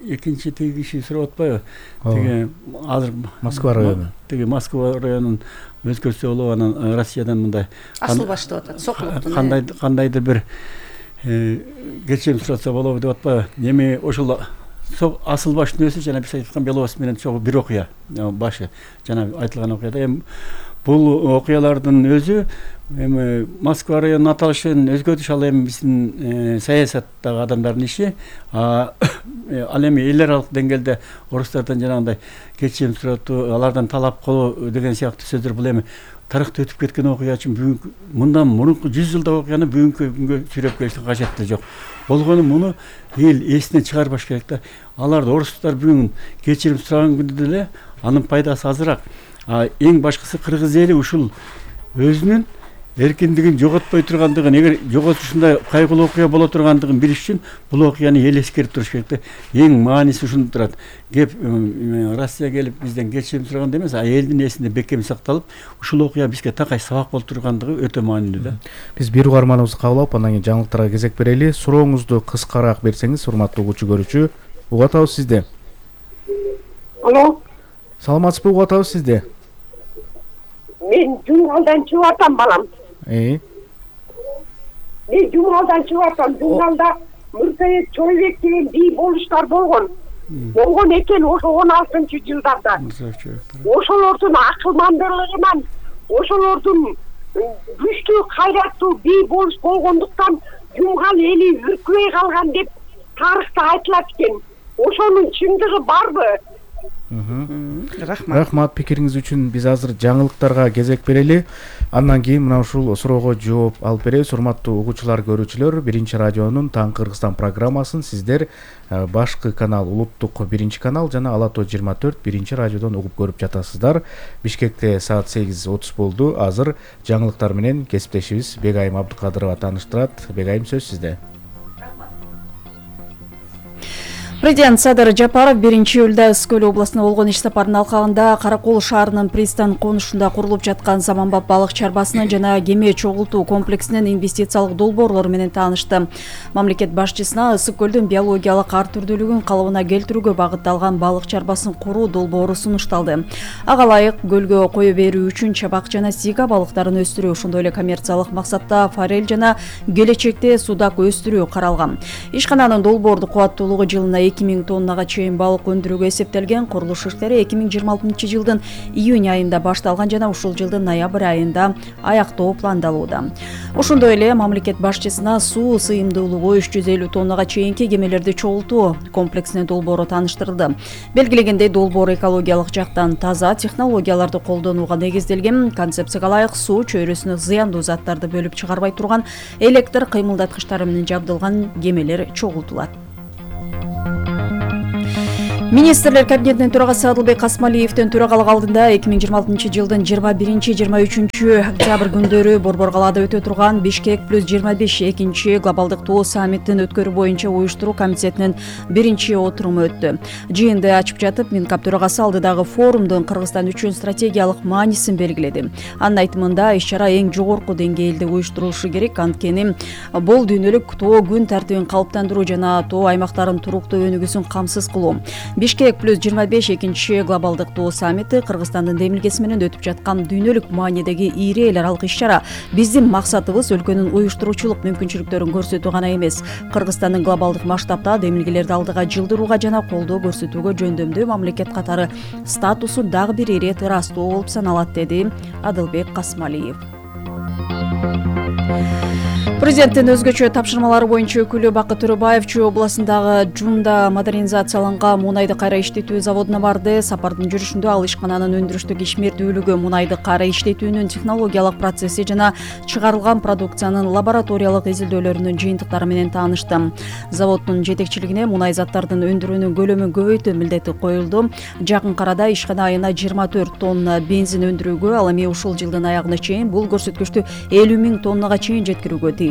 Экинчи тиги киши сурап атпайбы? Тиги азыр Москва району. Тиги Москва районунун өзгөрсө болобу, анан Россиядан мындай Асылбаш деп атат, Сокулуктун. Кандайдыр бир кечирим суратса болобу деп атпайбы? Эми ошол Асылбаштын өзү жана биз айткан Беловоз менен чогуу бир окуя башы, жана айтылган окуяда. Эми бул окуялардын өзү эми Москва районунун аталышын өзгөртүш, ал эми биздин саясаттагы адамдардын иши. Ал эми эл аралык деңгээлде орустардан жанагындай кечирим суратуу, алардан талап кылуу деген сыяктуу сөздөр бул эми тарыхта өтүп кеткен окуя үчүн бүгүнкү мындан мурунку 100 жылдык окуяны бүгүнкү күнгө сүйрөп келиштин кажети жок. Болгону муну эл эсинен чыгарбаш керек да. Аларды орустар бүгүн кечирим сураган күндө деле анын пайдасы азыраак. Эң башкысы кыргыз эли ушул өзүнүн эркиндигин жоготпой тургандыгын, эгер жоготушунда кайгылуу окуя боло тургандыгын билиш үчүн бул окуяны эл эскерип туруш керек да. Эң мааниси ушунда турат. Кеп Россия келип бизден кечирим сураганда эмес, элдин эсинде бекем сакталып, ушул окуя бизге такай сабак болуп тургандыгы өтө маанилүү да. Биз бир угарманыбызды кабыл алып, андан кийин жаңылыктарга кезек берели. Сурооңузду кыскараак берсеңиз, урматтуу угуучу көрүүчү. Угуп атабыз сизди. Алло. Саламатсызбы, угуп атабыз сизди. Мен Жумгалдан чыгып атам, балам. Мен Жумгалдан чыгып атам. Жумгалда Муртаев Чойбек деген бий болуштар болгон. Болгон экен ошо 16-жылдарда. Ошолордун акылмандылыгынан, ошолордун күчтүү, кайраттуу бий болуш болгондуктан Жумгал эли үркүбөй калган деп тарыхта айтылат экен. Ошонун чындыгы барбы? Рахмат пикириңиз үчүн. Биз азыр жаңылыктарга кезек берели. Андан кийин мына ушул суроого жооп алып беребиз. Урматтуу угуучулар, көрүүчүлөр, Биринчи радионун Таң Кыргызстан программасын сиздер башкы канал, улуттук биринчи канал жана Ала Тоо 24 Биринчи радиодон угуп көрүп жатасыздар. Бишкекте саат 8:30 болду. Азыр жаңылыктар менен кесиптешибиз Бегайым Абдыкадырова тааныштырат. Бегайым, сөз сизде. Президент Садыр Жапаров 1-июлда Ысык көл областына болгон иш сапарынын алкагында Каракол шаарынын пристань конушунда курулуп жаткан заманбап балык чарбасынын жана кеме чогултуу комплексинин инвестициялык долбоорлору менен таанышты. Мамлекет башчысына Ысык көлдүн биологиялык ар түрдүүлүгүн калыбына келтирүүгө багытталган балык чарбасын куруу долбоору сунушталды. Ага ылайык көлгө кое берүү үчүн чабак жана сига балыктарын өстүрүү, ошондой эле коммерциялык максатта форель жана келечекте судак өстүрүү каралган. Ишкананын долбоордук кубаттуулугу жылына 2000 тоннага чейин балык өндүрүүгө эсептелген. Курулуш иштери 2026 жылдын июнь айында башталган жана ушул жылдын ноябрь айында аяктоо пландалууда. Ошондой эле мамлекет башчысына суу сыйымдуулугу 350 тоннага чейинки кемелерди чогултуу комплексинин долбоору тааныштырылды. Белгилегендей, долбоор экологиялык жактан таза технологияларды колдонууга негизделген. Концепцияга ылайык суу чөйрөсүнө зыяндуу заттарды бөлүп чыгарбай турган электр кыймылдаткычтары менен жабдылган кемелер чогултулат. Министрлер кабинетинин төрагасы Адылбек Касмалиевдин төрагалык алдында 2026 жылдын 21-23 октябрь күндөрү Борбор калаада өтө турган Бишкек +25 экинчи глобалдык тоо саммитин өткөрүү боюнча уюштуруу комитетинин биринчи отуруму өттү. Жыйынды ачып жатып, Минкап төрагасы алдыдагы форумдун Кыргызстан үчүн стратегиялык маанисин белгиледи. Анын айтымында, иш-чара эң жогорку деңгээлде уюштурулушу керек, анткени бул дүйнөлүк тоо күн тартибин калыптандыруу жана тоо аймактарын туруктуу өнүгүүсүн камсыз кылуу. Бишкек +25 экинчи глобалдык тоо саммити Кыргызстандын демилгеси менен өтүп жаткан дүйнөлүк маанидеги ири эл аралык иш-чара. Биздин максатыбыз өлкөнүн уюштуруучулук мүмкүнчүлүктөрүн көрсөтүү гана эмес, Кыргызстандын глобалдык масштабта демилгелерди алдыга жылдырууга жана колдоо көрсөтүүгө жөндөмдүү мамлекет катары статусу дагы бир ирет ырастоо болуп саналат, деди Адылбек Касмалиев. Президенттин өзгөчө тапшырмалары боюнча өкүлү Бакыт Төрөбаев Чүй областындагы Жумда модернизацияланган мунайды кайра иштетүү заводуна барды. Сапардын жүрүшүндө ал ишкананын өндүрүштүк ишмердүүлүгү, мунайды кайра иштетүүнүн технологиялык процесси жана чыгарылган продукциянын лабораториялык изилдөөлөрүнүн жыйынтыктары менен таанышты. Заводдун жетекчилигине мунай заттардын өндүрүүнүн көлөмүн көбөйтүү милдети коюлду. Жакын арада ишкана айына 24 тонна бензин өндүрүүгө, ал эми ушул жылдын аягына чейин бул көрсөткүчтү 50 000 тоннага чейин жеткирүүгө тийиш.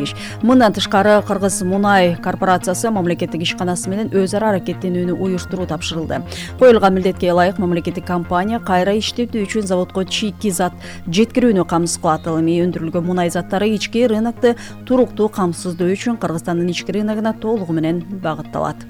Мындан тышкары Кыргыз мунай корпорациясы мамлекеттик ишканасы менен өз ара аракеттенүүнү уюштуруу тапшырылды. Коюлган милдетке ылайык мамлекеттик компания кайра иштетүү үчүн заводко чийки зат жеткирүүнү камсыз кылат. Ал эми өндүрүлгөн мунай заттары ички рынокты туруктуу камсыздоо үчүн Кыргызстандын ички рыногуна толугу менен багытталат.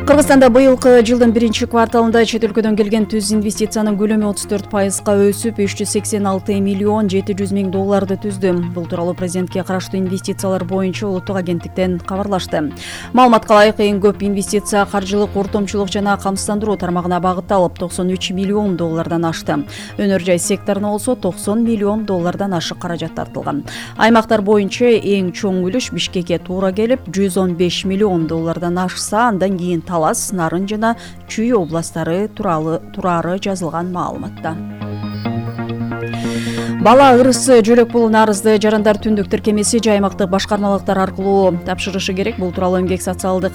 Кыргызстанда быйылкы жылдын биринчи кварталында чет өлкөдөн келген түз инвестициянын көлөмү 34%га өсүп, 386 миллион 700 миң долларды түздү. Бул тууралуу президентке караштуу инвестициялар боюнча улуттук агенттиктен кабарлашты. Маалыматка ылайык, эң көп инвестиция каржылык ортомчулук жана камсыздандыруу тармагына багытталып, 93 миллион доллардан ашты. Өнөр жай секторуна болсо 90 миллион доллардан ашык каражат тартылган. Аймактар боюнча эң чоң үлүш Бишкекке туура келип, 115 миллион доллардан ашса, андан кийин Талас, Нарын жана Чүй областтары турары жазылган маалыматта. Бала ырысы жөлөк бул нарызды жарандар түндүк тиркемеси аймактык башкармалыктар аркылуу тапшырышы керек. Бул тууралуу эмгек социалдык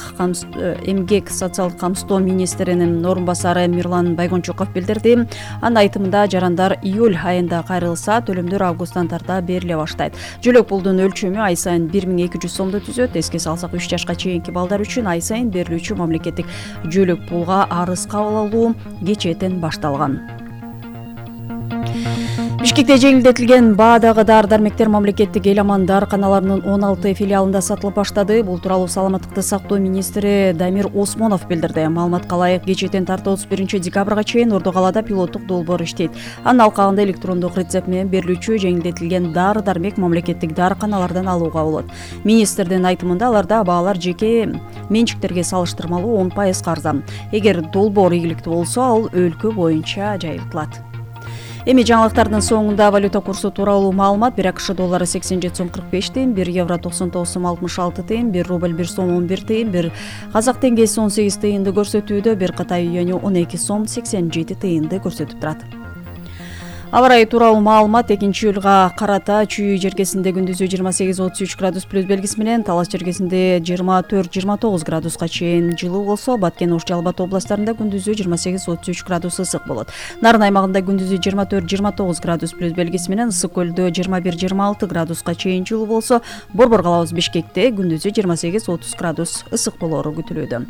камсыздоо министринин орун басары Мирлан Байгончуков билдирди. Анын айтымында, жарандар июль айында кайрылса, төлөмдөр августтан тарта бериле баштайт. Жөлөк пулдун өлчөмү ай сайын 1200 сомду түзөт. Эске салсак, 3 жашка чейинки балдар үчүн ай сайын берилүүчү мамлекеттик жөлөк пулга арыз кабыл алуу кечээден башталган. Бишкекте жеңилдетилген баадагы дары-дармектер мамлекеттик эл аман дарыканаларынын 16 филиалында сатылып баштады. Бул тууралуу саламаттыкты сактоо министри Дамир Осмонов билдирди. Маалыматка ылайык, кечээден тарта 31 декабрга чейин Ордо калаада пилоттук долбоор иштейт. Анын алкагында электрондук рецепт менен берилүүчү жеңилдетилген дары-дармек мамлекеттик дарыканалардан алууга болот. Министрдин айтымында, аларда баалар жеке менчиктерге салыштырмалуу 10% арзан. Эгер долбоор ийгиликтүү болсо, ал өлкө боюнча жайылтылат. Эми жаңылыктардын соңунда валюта курсу тууралуу маалымат: 1 АКШ доллары 87 сом 45 тыйын, 1 евро 99 сом 66 тыйын, 1 рубль 1 сом 11 тыйын, 1 казак теңгеси 18 тыйынды көрсөтүүдө, 1 Кытай юаню 12 сом 87 тыйынды көрсөтүп турат. Аба ырайы тууралуу маалымат: 2-июлга карата Чүй жергесинде күндүзү 28-33 градус плюс белгиси менен, Талас жергесинде 24-29 градуска чейин жылуу болсо, Баткен, Ош, Жалал-Абад областарында күндүзү 28-33 градус ысык болот. Нарын аймагында күндүзү 24-29 градус плюс белгиси менен, Ысык көлдө 21-26 градуска чейин жылуу болсо, Борбор калабыз Бишкекте күндүзү 28-30 градус ысык болору күтүлүүдө.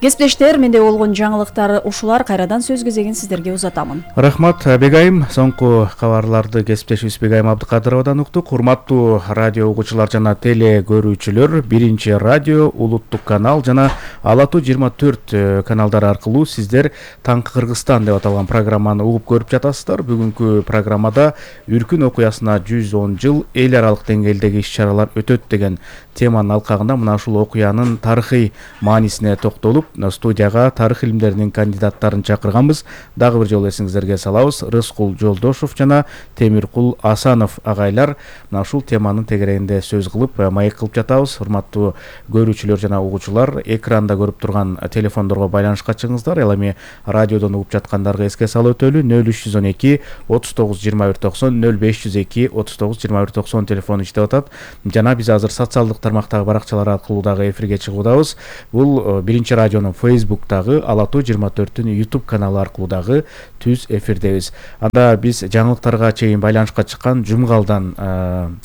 Кесиптештер, менде болгон жаңылыктар ушулар. Кайрадан сөз кезегин сиздерге узатамын. Рахмат Бегайым. Соңку кабарларды кесиптешибиз Бегайым Абдыкадыровадан уктук. Урматтуу радио угуучулар жана теле көрүүчүлөр, Биринчи радио, улуттук канал жана Ала Тоо 24 каналдары аркылуу сиздер Таңкы Кыргызстан деп аталган программаны угуп көрүп жатасыздар. Бүгүнкү программада Үркүн окуясына 110 жыл эл аралык деңгээлдеги иш-чаралар өтөт деген теманын алкагында мына ушул окуянын тарыхый маанисине токтолуп, студияга тарых илимдеринин кандидаттарын чакырганбыз. Дагы бир жолу эсиңиздерге салабыз. Рыскул Жолдошов жана Темиркул Асанов агайлар мына ушул теманын тегерегинде сөз кылып, маек кылып жатабыз. Урматтуу көрүүчүлөр жана угуучулар, экранда көрүп турган телефондорго байланышка чыгыңыздар. Ал эми радиодон угуп жаткандарга эске салып өтөлү. 0312 39 21 90 0502 39 21 90 телефону иштеп атат. Жана биз азыр социалдык тармактагы баракчалар аркылуу дагы эфирге чыгуудабыз. Бул Биринчи радионун Facebook'тагы, Ала Тоо 24-түн YouTube каналы аркылуу дагы түз эфирдебиз. Анда биз жаңылыктарга чейин байланышка чыккан Жумгалдан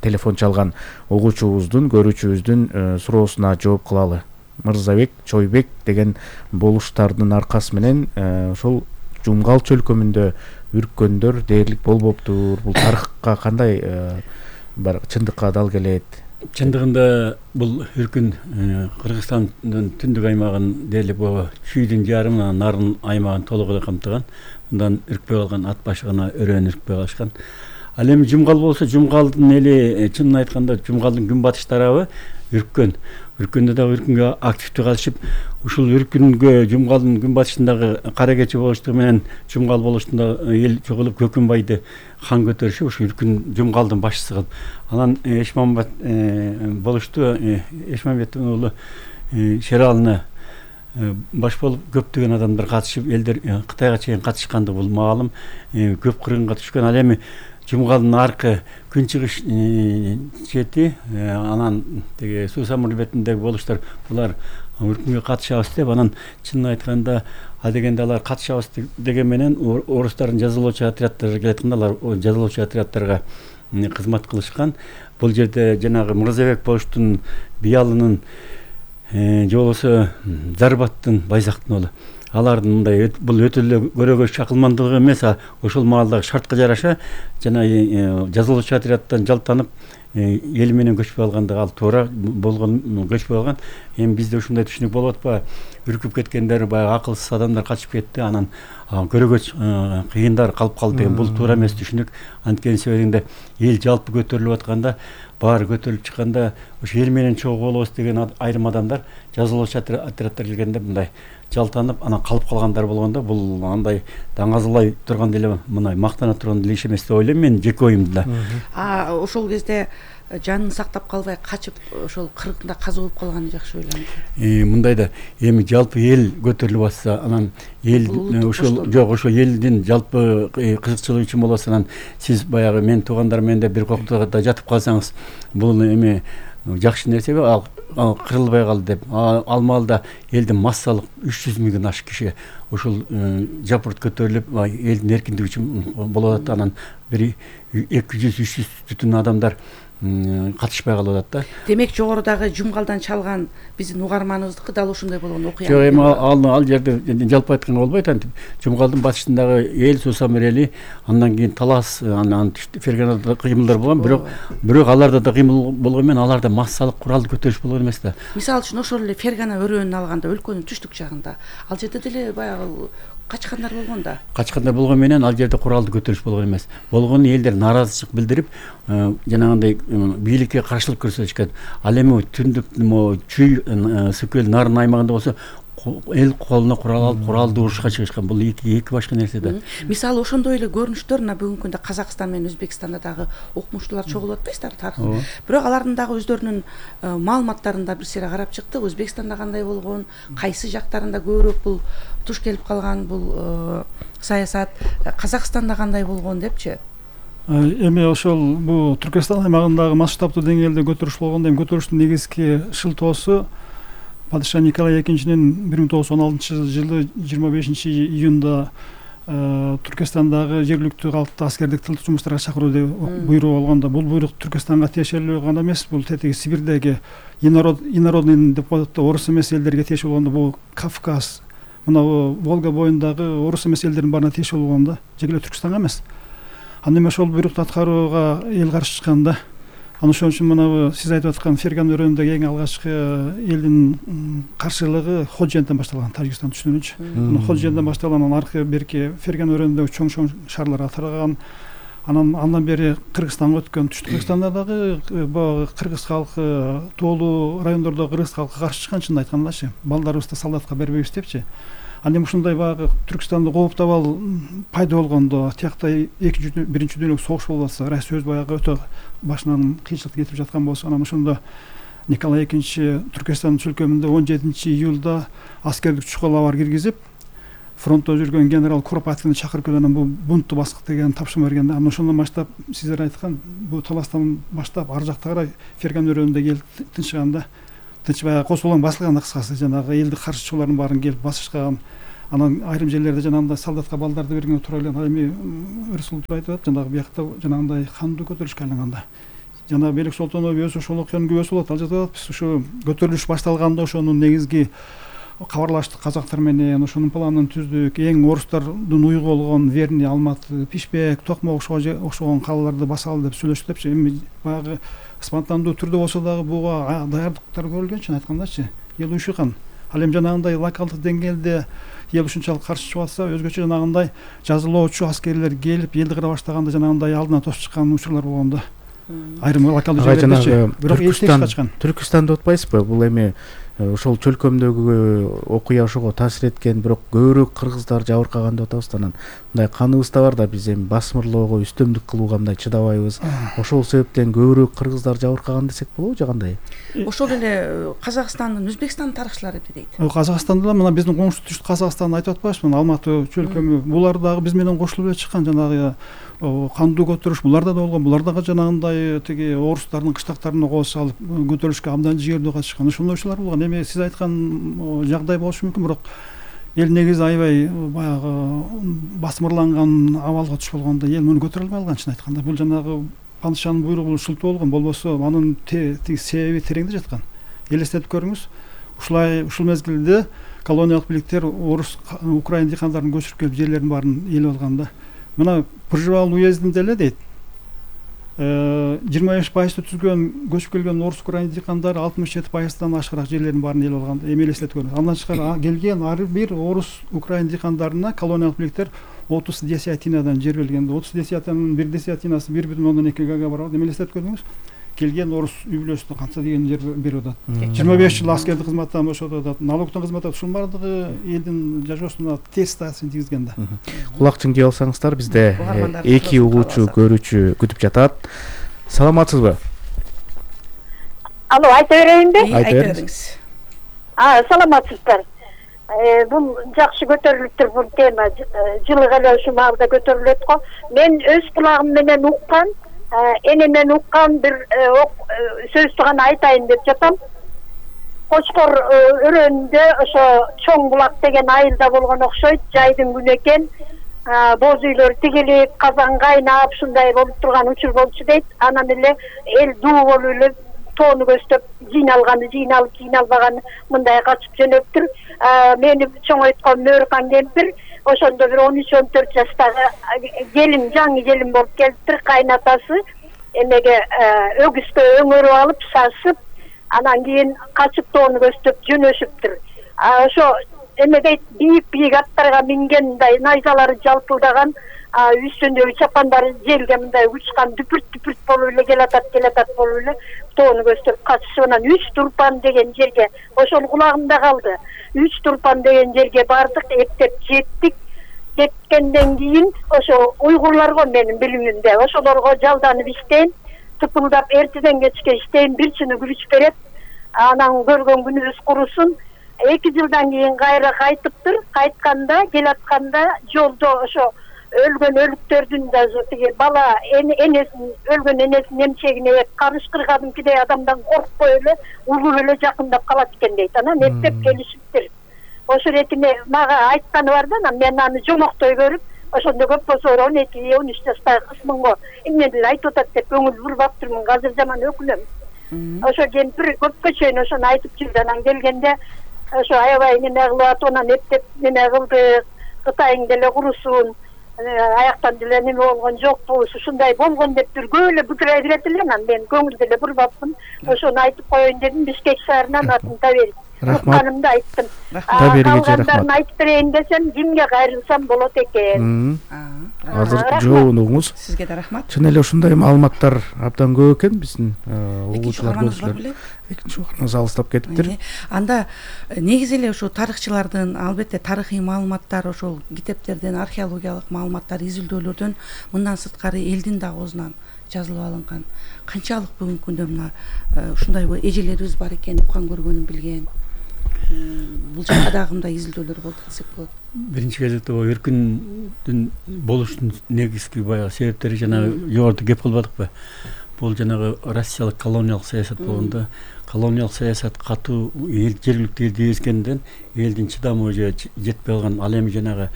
телефон чалган угуучубуздун, көрүүчүбүздүн суроосуна жооп кылалы. Мырзабек Чойбек деген болуштардын аркасы менен ошол Жумгал чөлкөмүндө үрккөндөр дээрлик болбоптур. Бул тарыхка кандай бар чындыкка дал келет? Чындыгында бул үркүн Кыргызстандын түндүк аймагын дээрлик чүйдүн жарымына нарын аймагын толук эле камтыган. Мындан үркпөй калган ат башы гана өрөөн үркпөй калышкан. Ал эми Жумгал болсо, Жумгалдын эли чынын айтканда Жумгалдын күнбатыш тарабы үрккөн. Үркүндө дагы үркүнгө активдүү катышып, ушул үркүнгө Жумгалдын күнбатышындагы кара кечи болуштугу менен Жумгал болуштунда эл чогулуп Көкүнбайды хан көтөрүшүп, ушул үркүн Жумгалдын башчысы кылып, анан Эшмамбет болушту. Эшмамбеттин уулу Шералына баш болуп көптөгөн адамдар катышып, элдер Кытайга чейин катышкандыгы бул маалым. Көп кыргынга түшкөн. Ал эми Жумгалдын аркы күнчыгыш чети, анан теге суу самыр бетиндеги болуштар, булар үркүнгө катышабыз деп, анан чынын айтканда ал дегенде алар катышабыз деген менен орустардын жазалоочу отряддары келатканда алар жазалоочу отряддарга кызмат кылышкан. Бул жерде жанагы Мырзабек болуштун биялынын же болбосо Зарбаттын Байзактын уулу. Алардын мындай бул өтө эле көрөгө чакылмандыгы эмес, ошол маалдагы шартка жараша жана жазалоочу отряддан жалтанып эл менен көчпөй алгандыгы ал туура болгон, көчпөй алган. Эми бизде ушундай түшүнүк болуп атпайбы? Үркүп кеткендер баягы акылсыз адамдар качып кетти, анан көрөгө кыйындар калып калды деген бул туура эмес түшүнүк. Анткени себебинде эл жалпы көтөрүлүп атканда, баары көтөрүлүп чыкканда ошо эл менен чогуу болобуз деген айрым адамдар жазалоочу отряддар келгенде мындай жалтанып анан калып калгандар болгондо, бул андай даңазалай турган деле, мындай мактана турган деле иш эмес деп ойлойм мен, жеке оюмда. Ошол кезде жанын сактап калбай качып ошол кыргында каза болуп калганы жакшы ойлойм. Мындай да эми жалпы эл көтөрүлүп атса, анан эл ошол жок, ошо элдин жалпы кызыкчылыгы үчүн болосо, анан сиз баягы мен туугандар менен бир коктогуда жатып калсаңыз, бул эми жакшы нерсеби? Ал кырылбай калды деп. Ал маалда элдин массалык 300 миңден ашык киши ошол жапырт көтөрүлүп, элдин эркиндиги үчүн болуп атат. Анан бир 200-300 бүтүн адамдар катышпай калып атат да. Демек жогорудагы Жумгалдан чалган биздин угарманыбыздыкы дал ушундай болгон окуя. Жок, эми ал жерде жалпы айтканга болбойт. Антип Жумгалдын батышындагы эл Суусамыр эли, андан кийин Талас, анан Ферганада кыймылдар болгон, бирок аларда да кыймыл болгон менен аларда массалык куралды көтөрүш болгон эмес да. Мисалы үчүн ошол эле Фергана өрөөнүн алганда өлкөнүн түштүк жагында ал жерде деле баягы качкандар болгон да. Качкандар болгон менен ал жерде куралды көтөрүш болгон эмес. Болгон элдер нааразычылык билдирип, жанагындай бийликке каршылык көрсөтүшкөн. Ал эми түндүк чүй Сүкөл нарын аймагында болсо эл колуна курал алып куралды урушка чыгышкан. Бул эки башка нерсе да. Мисалы ошондой эле көрүнүштөр мына бүгүнкү күндө Казакстан менен Өзбекстанда дагы окумуштуулар чогулуп атпайсыздар тарыхын. Бирок алардын дагы өздөрүнүн маалыматтарында бир сыйра карап чыктык. Өзбекстанда кандай болгон, кайсы жактарында көбүрөөк бул туш келип калган бул саясат, Казакстанда кандай болгон депчи. Эми ошол бул Түркистан аймагындагы масштабтуу деңгээлде көтөрүш болгондо, эми көтөрүштүн негизги шылтоосу Падыша Николай II 1916 жылы 25 июнда Түркістандагы жергиликтүү калкты аскердик тылдык жумуштарга чакыруу деп буйрук болгондо, бул буйрук Түркистанга тиешелүү гана эмес, бул тетиги Сибирдеги инородный деп коет, орус эмес элдерге тиешелүү болгондо, бул Кавказ, мына Волга боюндагы орус эмес элдердин баарына тиешелүү болгондо, жеке Түркистанга эмес. Анда эми ошол буйрукту аткарууга эл каршы чыкканда, аны ошон үчүн мына сиз айтып аткан Ферган өрөөнүндөгү эң алгачкы элдин каршылыгы Ходжентен башталган, Тажикстан түшүнүнчү. Ходжентен башталган, анан аркы берки Ферган өрөөнүндөгү чоң шаарларга тараган. Андан бери Кыргызстанга өткөн. Түштүк Кыргызстанда дагы баягы кыргыз калкы, тоолуу райондордогу кыргыз калкы каршы чыккан, чынын айткандачы. Балдарыбызды солдатка бербейбиз депчи. Анда ушундай баягы Түркистанда кооптабал пайда болгондо, тиякта биринчи дүйнөлүк согуш болуп атса, Россия баягы өтө башынан кыйынчылык кетип жаткан болсо, анан ошондо Николай II Түркистандын чөлкөмүндө 17 июлда аскердик чукулабар киргизип, фронтто жүргөн генерал Куропаткини чакырып келип, анан бул бунтту баскык деген тапшырма берген. Анан ошондон баштап, сиздер айткан, бул таластан баштап ар жакта карай Ферган өрөөнүндө эл тынчыганда, баягы косулоң басылган, кыскасы жанагы элди каршы чыгуулардын баарын келип басышкан. Анан айрым жерлерде жанагындай солдатка балдарды берген туура эле. Эми Рысулов айтып атат, жанагы биякта жанагындай кандуу көтөрүлүшкө айланганда. Жанагы Белек Солтонов өзү ошол окуянын күбөсү болот. Ал жерде биз ушу көтөрүлүш башталганда ошонун негизги кабарлаштык казактар менен, ошонун планын түздүк. Эң орустардын уйгу болгон Верни, Алматы, Пишпек, Токмок окшогон калаларды басалы деп сүйлөштүк депчи. Эми баягы спонтандуу түрдө болсо дагы буга даярдыктар көрүлгөн, чын айткандачы. Эл уйшуган. Ал эми жанагындай локалдык деңгээлде ел ушунчалык каршы чыгып атса, өзгөчө жанагындай жазалоочу аскерлер келип элди кыра баштаганда жанагындай алдына тосуп чыккан учурлар болгондо. Айрым локалдык жерлердечи. Бирок элчиге чыккан. Түркистанды отпайсызбы? Бул эми ошол чөлкөмдөгү окуя ошого таасир эткен, бирок көбүрөөк кыргыздар жабыркаган деп атабыз. Анан мындай каныбыз да бар да, биз эми басмырлоого, үстөмдүк кылууга мындай чыдабайбыз. Ошол себептен көбүрөөк кыргыздар жабыркаган десек болобу же кандай? Ошол эле Казакстандын, Өзбекстандын тарыхчылары дейт. Казакстанда мына биздин коңшу түштүк Казакстанды айтып атпайбызбы? Алматы чөлкөмү, булар дагы биз менен кошулуп эле чыккан, жанагы кандуу көтөрүш буларда да болгон. Булар дагы жанагындай тиги орустардын кыштактарына кол салып көтөрүлүшкө абдан жигердүү катышкан. Ошондойчулар болгон. Эми сиз айткан жагдай болушу мүмкүн, бирок эл негизи аябай баягы басмырланган абалга түшүп болгондо эл муну көтөрө албай калган, чын айтканда. Бул жанагы падышанын буйругу ушултуу болгон, болбосо анын тиги себеби тереңде жаткан. Элестетип көрүңүз. Ушул мезгилде колониялык бийликтер орус, украин дыйкандарын көчүрүп келип жерлердин баарын ээлеп алганда, мына Пржевал уездинде эле дейт, 25% түзгөн көчүп келген орус украин дыйкандары 67%дан ашыгыраак жерлердин баарын ээлеп алганда, эми элестетип көрүңүз. Андан тышкары келген ар бир орус украин дыйкандарына колониялык бийликтер 30 десятинадан жер берген. 30 десятинаның 1 десятинасы 1,2 га барат. Эми элестетип көрүңүз. Келген орус үй бүлөсүнө канча деген жер берип атат. 25 жыл аскердик кызматтан бошотуп атат. Налогтон кызмат атат. Ушунун баардыгы элдин жашоосуна терс таасирин тийгизген да. Кулак чыңдый алсаңыздар, бизде 2 угуучу көрүүчү күтүп жатат. Саламатсызбы? Алло, айта берейинби? Айта бериңиз. Саламатсыздар. Бул жакшы көтөрүлүптүр, бул тема. Жылы эле ушу маалда көтөрүлөт го. Мен өз кулагым менен уккан, энемен уккан бир сөздү гана айтайын деп жатам. Кочкор өрөөнүндө ошо Чоң булак деген айылда болгон окшойт, жайдын күнү экен. Боз үйлөр тигилип, казан кайнап, ушундай болуп турган учур болчу дейт. Анан эле эл дуу болуп эле тоону көздөп жыйналганы, жыйналбаганы мындай качып жөнөптүр. Мени чоңойткон Мөркан кемпир ошондо бир 13-14 жаштагы келин, жаңы келин болуп келиптир. Кайнатасы эмеге өгүзгө өңөрүп алып сасып, анан кийин качып тоону көздөп жөнөшүптүр. Ошо эме дейт, бийик аттарга минген, мындай найзалары жалпылдаган, үстүндөгү чапандары желге мындай учкан, дүпүрт болуп эле келатат болуп эле тоону көздөп качышып, анан 3 турпан деген жерге, ошол кулагымда калды. 3 турпан деген жерге бардык, эптеп жеттик. Жеткенден кийин ошо уйгурларго менин билимимде, ошолорго жалданып иштейм, тыпылдап эртеден кечке иштейм, бир чыны күрүч берет. Анан көргөн күнүбүз курусун. 2 жылдан кийин кайра кайтыптыр. Кайтканда, келатканда жолдо ошо өлгөн өлүктөрдүн даже тиги бала энесин, өлгөн энесин эмчегине карышкыргадымкидей адамдан коркпой эле, улуп эле жакындап калат экен дейт. Анан эптеп келишиптир. Ошо ретине мага айтканы бар да, мен аны жомоктой көрүп, ошондо көп болсо 12-13 жаштагы кызмынго эмне деле айтып атат деп көңүл бурбаптырмын. Азыр жаман өкүнөм. Ошо кемпир көпкө чейин ошону айтып жүрдү. Анан келгенде ошо аябай неме кылып атып, анан эптеп неме кылды. Кытайың деле курусун, аяктан деле неме болгон жокпу, ушундай болгон деп дүргөө эле бутурай берет эле. Анан мен көңүл деле бурбапмын. Ошону айтып коеюн дедим. Бишкек шаарынан атын Табери. Рахматымды айттым. Калгандарын айтып берейин десем, кимге кайрылсам болот экен. Азыр жоонуңуз. Сизге да рахмат. Чын эле ушундай маалыматтар абдан көп экен биздин угуучулар көрүүчүлөр. Экинчи угарыңыз алыстап кетиптир. Анда негизи эле ушул тарыхчылардын, албетте тарыхый маалыматтар, ошол китептерден, археологиялык маалыматтар, изилдөөлөрдөн мындан сырткары элдин да оозунан жазылып алынган. Канчалык бүгүнкү күндө мына ушундай эжелерибиз бар экен, уккан көргөнүн билген. Бул жакка дагы мындай изилдөөлөр болду десек болот. Биринчи кезекте эркиндин болушунун негизги баягы себептери жанагы жогоруда кеп кылбадыкпы? Бул жанагы Россиялык колониялык саясат болгондо, колониялык саясат катуу жергиликтүү элди эзгенден элдин чыдамы жетпей калган. Ал эми жанагы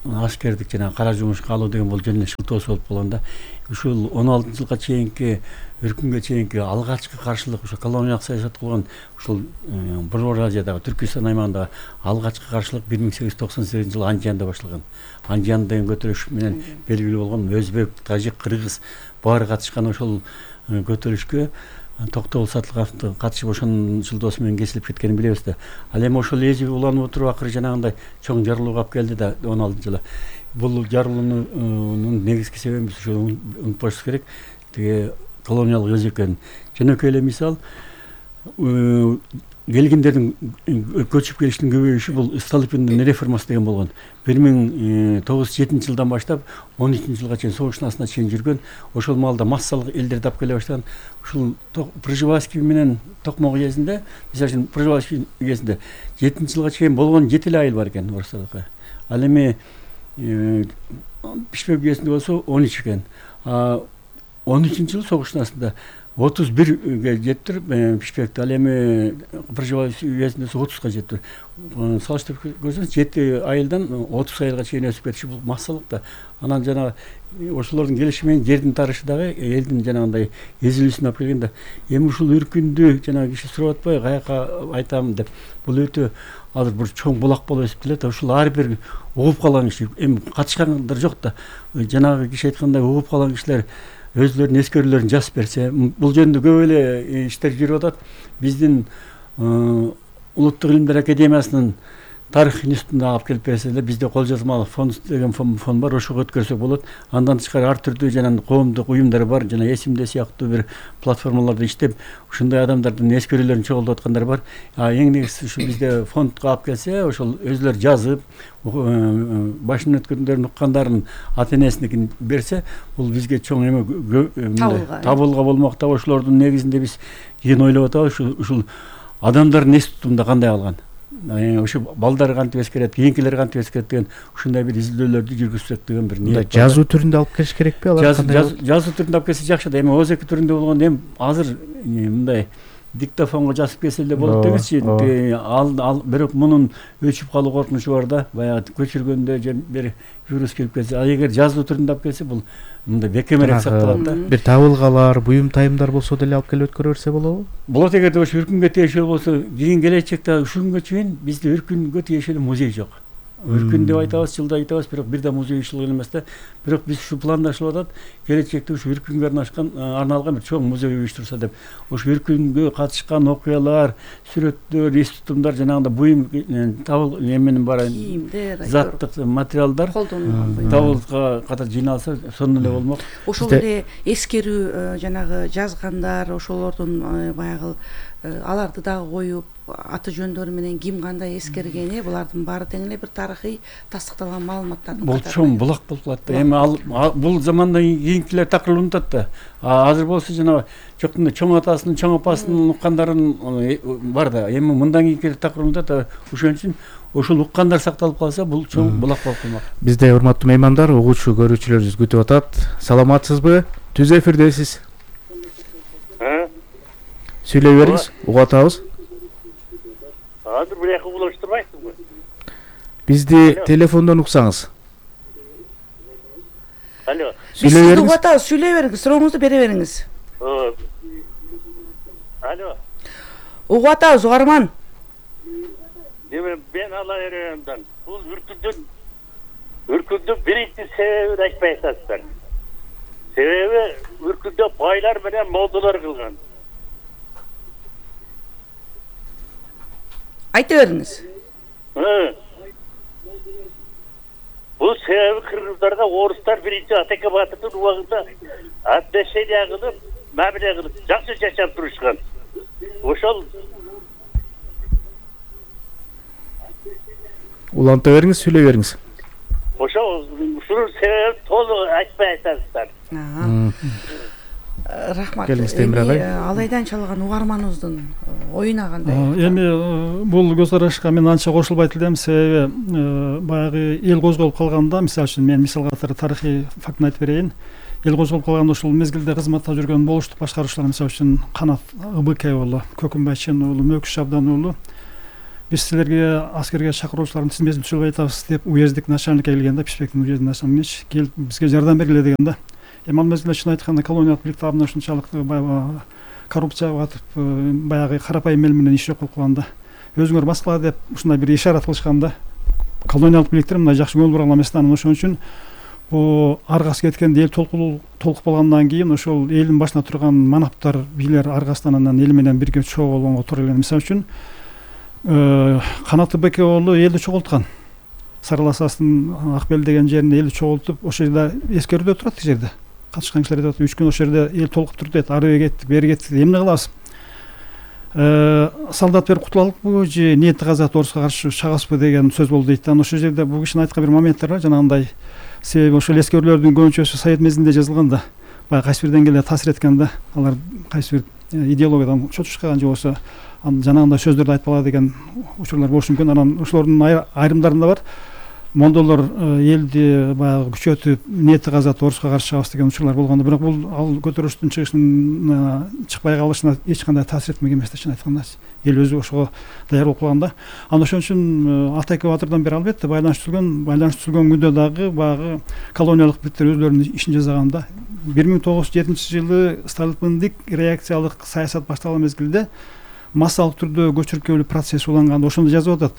аскердик жана кара жумушка алуу деген бул жөн эле шылтоосу болуп калганда, ушул 16-жылга чейинки өркүнгө чейинки алгачкы каршылык ошо колониялык саясат кылган ушул Борбор Азиядагы Түркистан аймагындагы алгачкы каршылык 1898-жылы Анжиянда башталган. Анжиян деген көтөрүш менен белгилүү болгон өзбек, тажик, кыргыз баары катышкан ошол көтөрүшкө Токтогул Сатылгановдун катышып ошонун шылтоосу менен кесилип кеткенин билебиз да. Ал эми ошол эзи уланып отуруп акыры жанагындай чоң жарылууга алып келди да 16-жылы. Бул жарылуунун негизги себеби ошо унутпашыбыз керек. Тиги колониялык өз экенин. Жөнөкөй эле мисал келгиндердин көчүп келишинин көбөйүшү бул Столыпиндин реформасы деген болгон. 1907-жылдан баштап 12-жылга чейин согуштун астына чейин жүргөн. Ошол маалда массалык элдерди алып келе баштаган. Ушул Пржевальский менен Токмок уездинде, мисалы үчүн Пржевальский уездинде 7-жылга чейин болгон 7 айыл бар экен орустардыкы. Ал эми Бишкек уездинде болсо 13 экен. 13-жылы согуштун астында 31-ге жеттир Бишкекте, ал эми Пржевальский уездинде 30-га жеттир. Салыштырып көрсөңүз 7 айылдан 30 айылга чейин өсүп кетиши бул массалык да. Анан жана ошолордун келиши менен жердин тарышы дагы элдин жанагындай эзилүүсүн алып келген да. Эми ушул үркүндү жанагы киши сурап атпайбы, каяка айтам деп. Бул өтө азыр бир чоң булак болуп эсептелет. Ушул ар бир угуп калган киши, эми катышкандар жок да. Жанагы киши айткандай угуп калган кишилер өзлөрүнүн эскерүүлөрүн жазып берсе, бул жөнүндө көп эле иштер жүрүп атат. Биздин Улуттук илимдер академиясынын тарых институтуна алып келип берсе эле, бизде кол жазмалуу фонд деген фонд бар, ошого өткөрсөк болот. Андан тышкары ар түрдүү жана коомдук уюмдар бар, жана эсимде сыяктуу бир платформаларда иштеп, ушундай адамдардын эскерүүлөрүн чогултуп аткандар бар. Эң негизгиси ушу бизде фондко алып келсе, ошол өзлөрү жазып, башынан өткөндөрүн уккандарын ата энесиникин берсе, бул бизге чоң эме табылга болмок да. Ошолордун негизинде биз кийин ойлоп атабыз, ушул адамдардын эс тутумунда кандай калган, ошо балдар кантип эскерет, кийинкилер кантип эскерет деген ушундай бир изилдөөлөрдү жүргүзсөк деген бир ниет. Жазуу түрүндө алып келиш керекпи алар? Жазуу түрүндө алып келсе жакшы да. Эми ооз эки түрүндө болгондо эми азыр мындай диктофонго жазып келсе эле болот деңизчи. Ал бирок мунун өчүп калуу коркунучу бар да. Баягы көчүргөндө же бир вирус келип келсе, а эгер жазуу түрүндө алып келсе бул мындай бекемирээк сакталат да. Бир табылгалар, буюм тайымдар болсо деле алып келип өткөрө берсе болобу? Болот, эгерде ошо үркүнгө тиешелүү болсо, кийин келечекте ушул күнгө чейин бизде үркүнгө тиешелүү музей жок. Өркүн деп айтабыз, жылда айтабыз, бирок бир да музей ишилген эмес да. Бирок биз ушу пландашылып атат, келечекте ушу үркүнгө арналган бир чоң музей уюштурса деп. Ушу үркүнгө катышкан окуялар, сүрөттөр, эс тутумдар, жанагындай буюм табыл эменин баары заттык материалдар табылга катар жыйналса, сонун эле болмок. Ошол эле эскерүү жанагы жазгандар, ошолордун баягы аларды дагы коюп, аты жөндөрү менен ким кандай эскерген, булардын баары тең эле бир тарыхый тастыкталган маалыматтардын катары. Бул чоң булак болуп калат да. Эми бул замандан кийинкилер такыр унутат да. Азыр болсо жана жоктун чоң атасынын, чоң апасынын уккандарын бар да. Эми мындан кийинкилер такыр унутат. Ошон үчүн ошол уккандар сакталып калса, бул чоң булак болуп калмак. Бизде урматтуу меймандар, угуучу көрүүчүлөрүбүз күтүп атат. Саламатсызбы? Түз эфирдесиз. Сүйлөй бериңиз, угуп атабыз. Азыр бир эки угулуштурбайсызбы? Бизди телефондон уксаңыз. Алло. Биз сизди угуп атабыз, сүйлөй бериңиз, сурооңузду бере бериңиз. Алло. Угуп атабыз, угарман. Ben Alayeren'den. Bu ürkündün birinci sebebini açmaya çalıştılar. Sebebi ürkünde baylar bilen moldular kılgan. Ayta beriniz. Bu sebebi Kırgızlarga Oruslar birinci Ataka Batır'ın uağında addeşeli ağılıp, мәміле қылып, жақсы жашап тұрышқан. Ошол уланта бериңиз, сүйлөй бериңиз. ошол ушунун себебин толук айтпай атасыздар. Рахмат. Келиңиз Темир агай. Алайдан чалган угарманыбыздын оюна кандай? Эми бул көз карашка мен анча кошулбайт элем, себеби баягы эл козголуп калганда, мисалы үчүн мен мисал катары тарыхый фактын айтып берейин. Эл козголуп калганда ушул мезгилде кызматта жүргөн болуштук башкаруучулар, мисалы үчүн Канат ыбк уулу, Көкүмбайчын уулу, Мөкүш Абдан уулу, биз силерге аскерге чакыруучулардын тизмесин түзүп атабыз деп уездик начальникке келгенде, Пишпектин уездик начальниги келип бизге жардам бергиле дегенде, эми ал мезгилде чын айтканда колониялык бийлик тарабынан ушунчалык баягы коррупцияга батып, баягы карапайым эл менен иш жок болуп калганда, өзүңөр баскыла деп ушундай бир ишарат кылышканда, колониялык бийликтер мындай жакшы көңүл бура эмес да, ошон үчүн аргасы кеткенде эл толкуп калгандан кийин ошол элдин башына турган манаптар, бийлер аргасынан анан эл менен бирге чогуу болгонго туура келген. Мисалы үчүн Канат ыбк уулу элди чогулткан. Сарыласастын Акбел деген жеринде элди чогултуп, ошол жерде эскерүүдө турат, тиги жерде. Катышкан кишилер айтат, 3 күн ошол жерде эл толкуп турду дейт, ары кеттик, бери кеттик, эмне кылабыз? Солдат берип кутулалыкпы же ниети казат Орусга каршы чыгасызбы деген сөз болду дейт. Анан ошол жерде бул кишинин айткан бир моменттер бар, жанагындай себеби ошол эскерүүлөрдүн көбүнчөсү Совет мезгилинде жазылган да, баягы кайсы бир деңгээлде таасир эткен да, алар кайсы бир идеологиядан чочушкан же болсо жанагындай сөздөрдү айтпала деген учурлар болушу мүмкүн. Анан ошолордун айрымдарында бар, мондолор элди баягы күчөтүп, ниети казат Орусга каршы чыгабыз деген учурлар болгондо, бирок бул ал көтөрүлүштүн чыкпай калышына эч кандай таасир этмеген эмес да, чын айтканда. Эл өзү ошого даяр болуп калганда. Анан ошон үчүн Атайка Батырдан бери албетте байланыш түзүлгөн күндө дагы баягы колониялык бийликтер өзлөрүнүн ишин жасаганда 1907 жылы сталиндик реакциялык саясат башталган мезгилде массалык түрдө көчүркөлүү процесс уланганда ошондо жазып атат.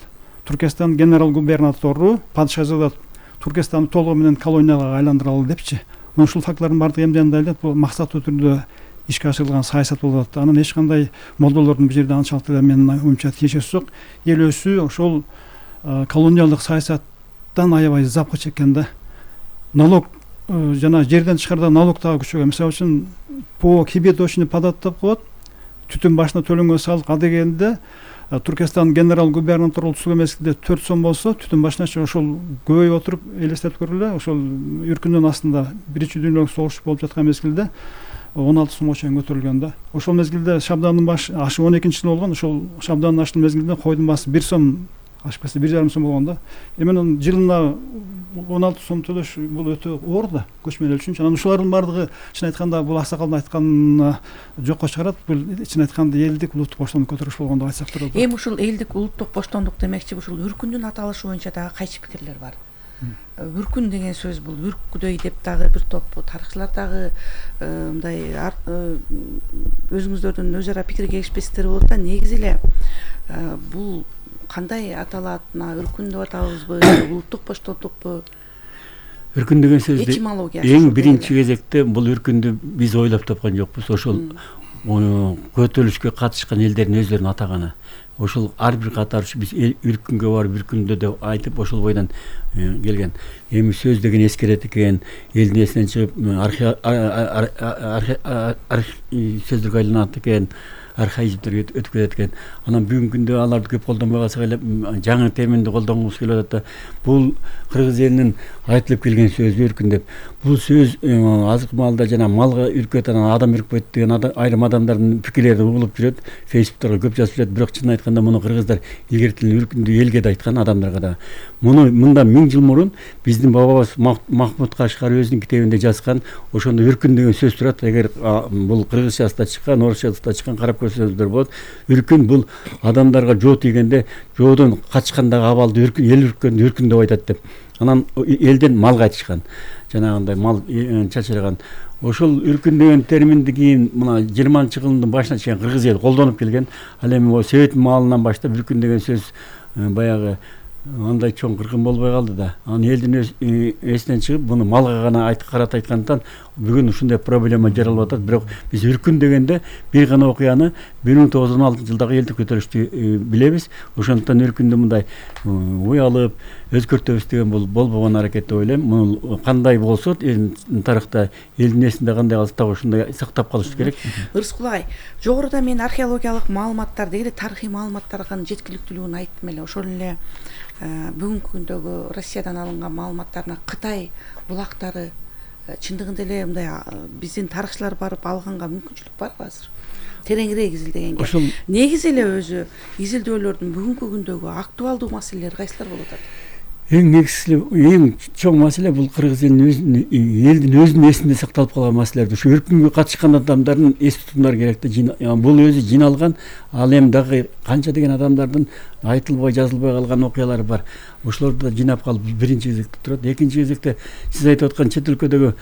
Туркестан генерал-губернатору падыша жазып атат. Туркестанды толугу менен колонияга айландыралы депчи. Ушул фактлардын баардыгы эмнеден дайылат, бул максаттуу түрдө ишке ашырылган саясат болуп атат. Анан эч кандай молдолордун бул жерде анчалык деле менин оюмча тиешеси жок. Эл өзү ошол колониялык саясаттан аябай запкы чеккен да. Налог жана жерден тышкарда налог дагы күчөгөн. Мисалы үчүн по кибеточный подат деп коет. Түтүн башына төлөнгөн салык а дегенде Туркестан генерал-губернатору түзүлгөн мезгилде 4 сом болсо, түтүн башына ошол көбөйүп отуруп элестетип көргүлө, ошол үркүндүн астында биринчи дүйнөлүк согуш болуп жаткан мезгилде 16 сомго чейин көтөрүлгөн да. Ошол мезгилде шабдандын башы ашы 12-жылы болгон, ошол шабдандын ашын мезгилде койдун баасы 1 сом, ашып кетсе 1,5 сом болгон да. Эми жылына 16 сом төлөш бул өтө оор да, көчмөн эл үчүн. Анан ушулардын баардыгы чын айтканда бул аксакалдын айтканын жокко чыгарат. Бул чын айтканда элдик улуттук боштондук көтөрүш болгон деп айтсак турат. Эми ушул элдик улуттук боштондук демекчи, ушул үркүндүн аталышы боюнча дагы кайчы пикирлер бар. Үркүн деген сөз бул үркүдөй деп дагы бир топ тарыхчылар дагы мындай өзүңүздөрдүн өз ара пикир келишпестиктер болот да. Негизи эле бул кандай аталат? Үркүн деп атабызбы, улуттук боштондукпу? Үркүн деген сөздү этимологиясы эң биринчи кезекте бул үркүндү биз ойлоп тапкан жокпуз. Ошол көтөрүлүшкө катышкан элдердин өздөрүнүн атаганы. Ошол ар бир катарчы биз үркүнгө барып үркүндө деп айтып ошол бойдон келген. Эми сөз деген эскерет экен, элдин эсинен чыгып сөздөргө айланат экен, архаизмдерге өтүп кетет экен. Анан бүгүнкү күндө аларды көп колдонбой калсак эле жаңы терминди колдонгубуз келип атат да. Бул кыргыз элинин айтылып келген сөзү үркүн деп. Бул сөз азык малда жана малга үркөт, анан адам үркпөйт деген айрым адамдардын пикирлери угулуп жүрөт. Фейсбуктарга көп жазып жүрөт, бирок чын айтканда муну кыргыздар илгертилген үркүндү элге да айткан, адамдарга да. Мында 1000 жыл мурун биздин бабабыз Махмуд Кашкар өзүнүн китебинде жазган, ошондо үркүн деген сөз турат. Эгер бул кыргызчасында чыккан, орусчасында чыккан карап көрсөңүздөр болот. Үркүн бул адамдарга жоо тийгенде жоодон качкандагы абалды эл үрккөндү үркүн деп айтат деп. анан элден мал кайтышкан, жанагындай мал чачырган. Ошол үркүн деген терминди кийин мына 20-жылдын башына чейин кыргыз эли колдонуп келген. Ал эми Совет маалынан баштап үркүн деген сөз баягы андай чоң кыргын болбой калды да. Анан элдин эсинен чыгып, буну малга гана карата айткандыктан бүгүн ушундай проблема жаралып атат. Бирок биз үркүн дегенде бир гана окуяны 1916-жылдагы элдик көтөрүштү билебиз. Ошондуктан үркүндү мындай уялып өзгөртөбүз деген бул болбогон аракет деп ойлойм. Бул кандай болсо тарыхта элдин эсинде кандай калса так ошондой сактап калыш керек. Ырыскул агай, жогоруда мен археологиялык маалыматтарды эле тарыхый маалыматтардын жеткиликтүүлүгүн айттым эле. Ошол эле бүгүнкү күндөгү Россиядан алынган маалыматтарына Кытай булактары чындыгында эле мындай биздин тарыхчылар барып алганга мүмкүнчүлүк барбы азыр? Тереңирээк изилдегенге. Негизи эле өзү изилдөөлөрдүн бүгүнкү күндөгү актуалдуу маселелери кайсылар болуп атат? Эң негизги, эң чоң маселе бул кыргыз элдин өзүнүн эсинде сакталып калган маселелер. Ушу үркүнгө катышкан адамдардын эс тутумдары керек да. Бул өзү жиналган, ал эми дагы канча деген адамдардын айтылбай, жазылбай калган окуялары бар. Ошолорду да жинап калып биринчи кезекте турат. Экинчи кезекте сиз айтып аткан чет өлкөдөгү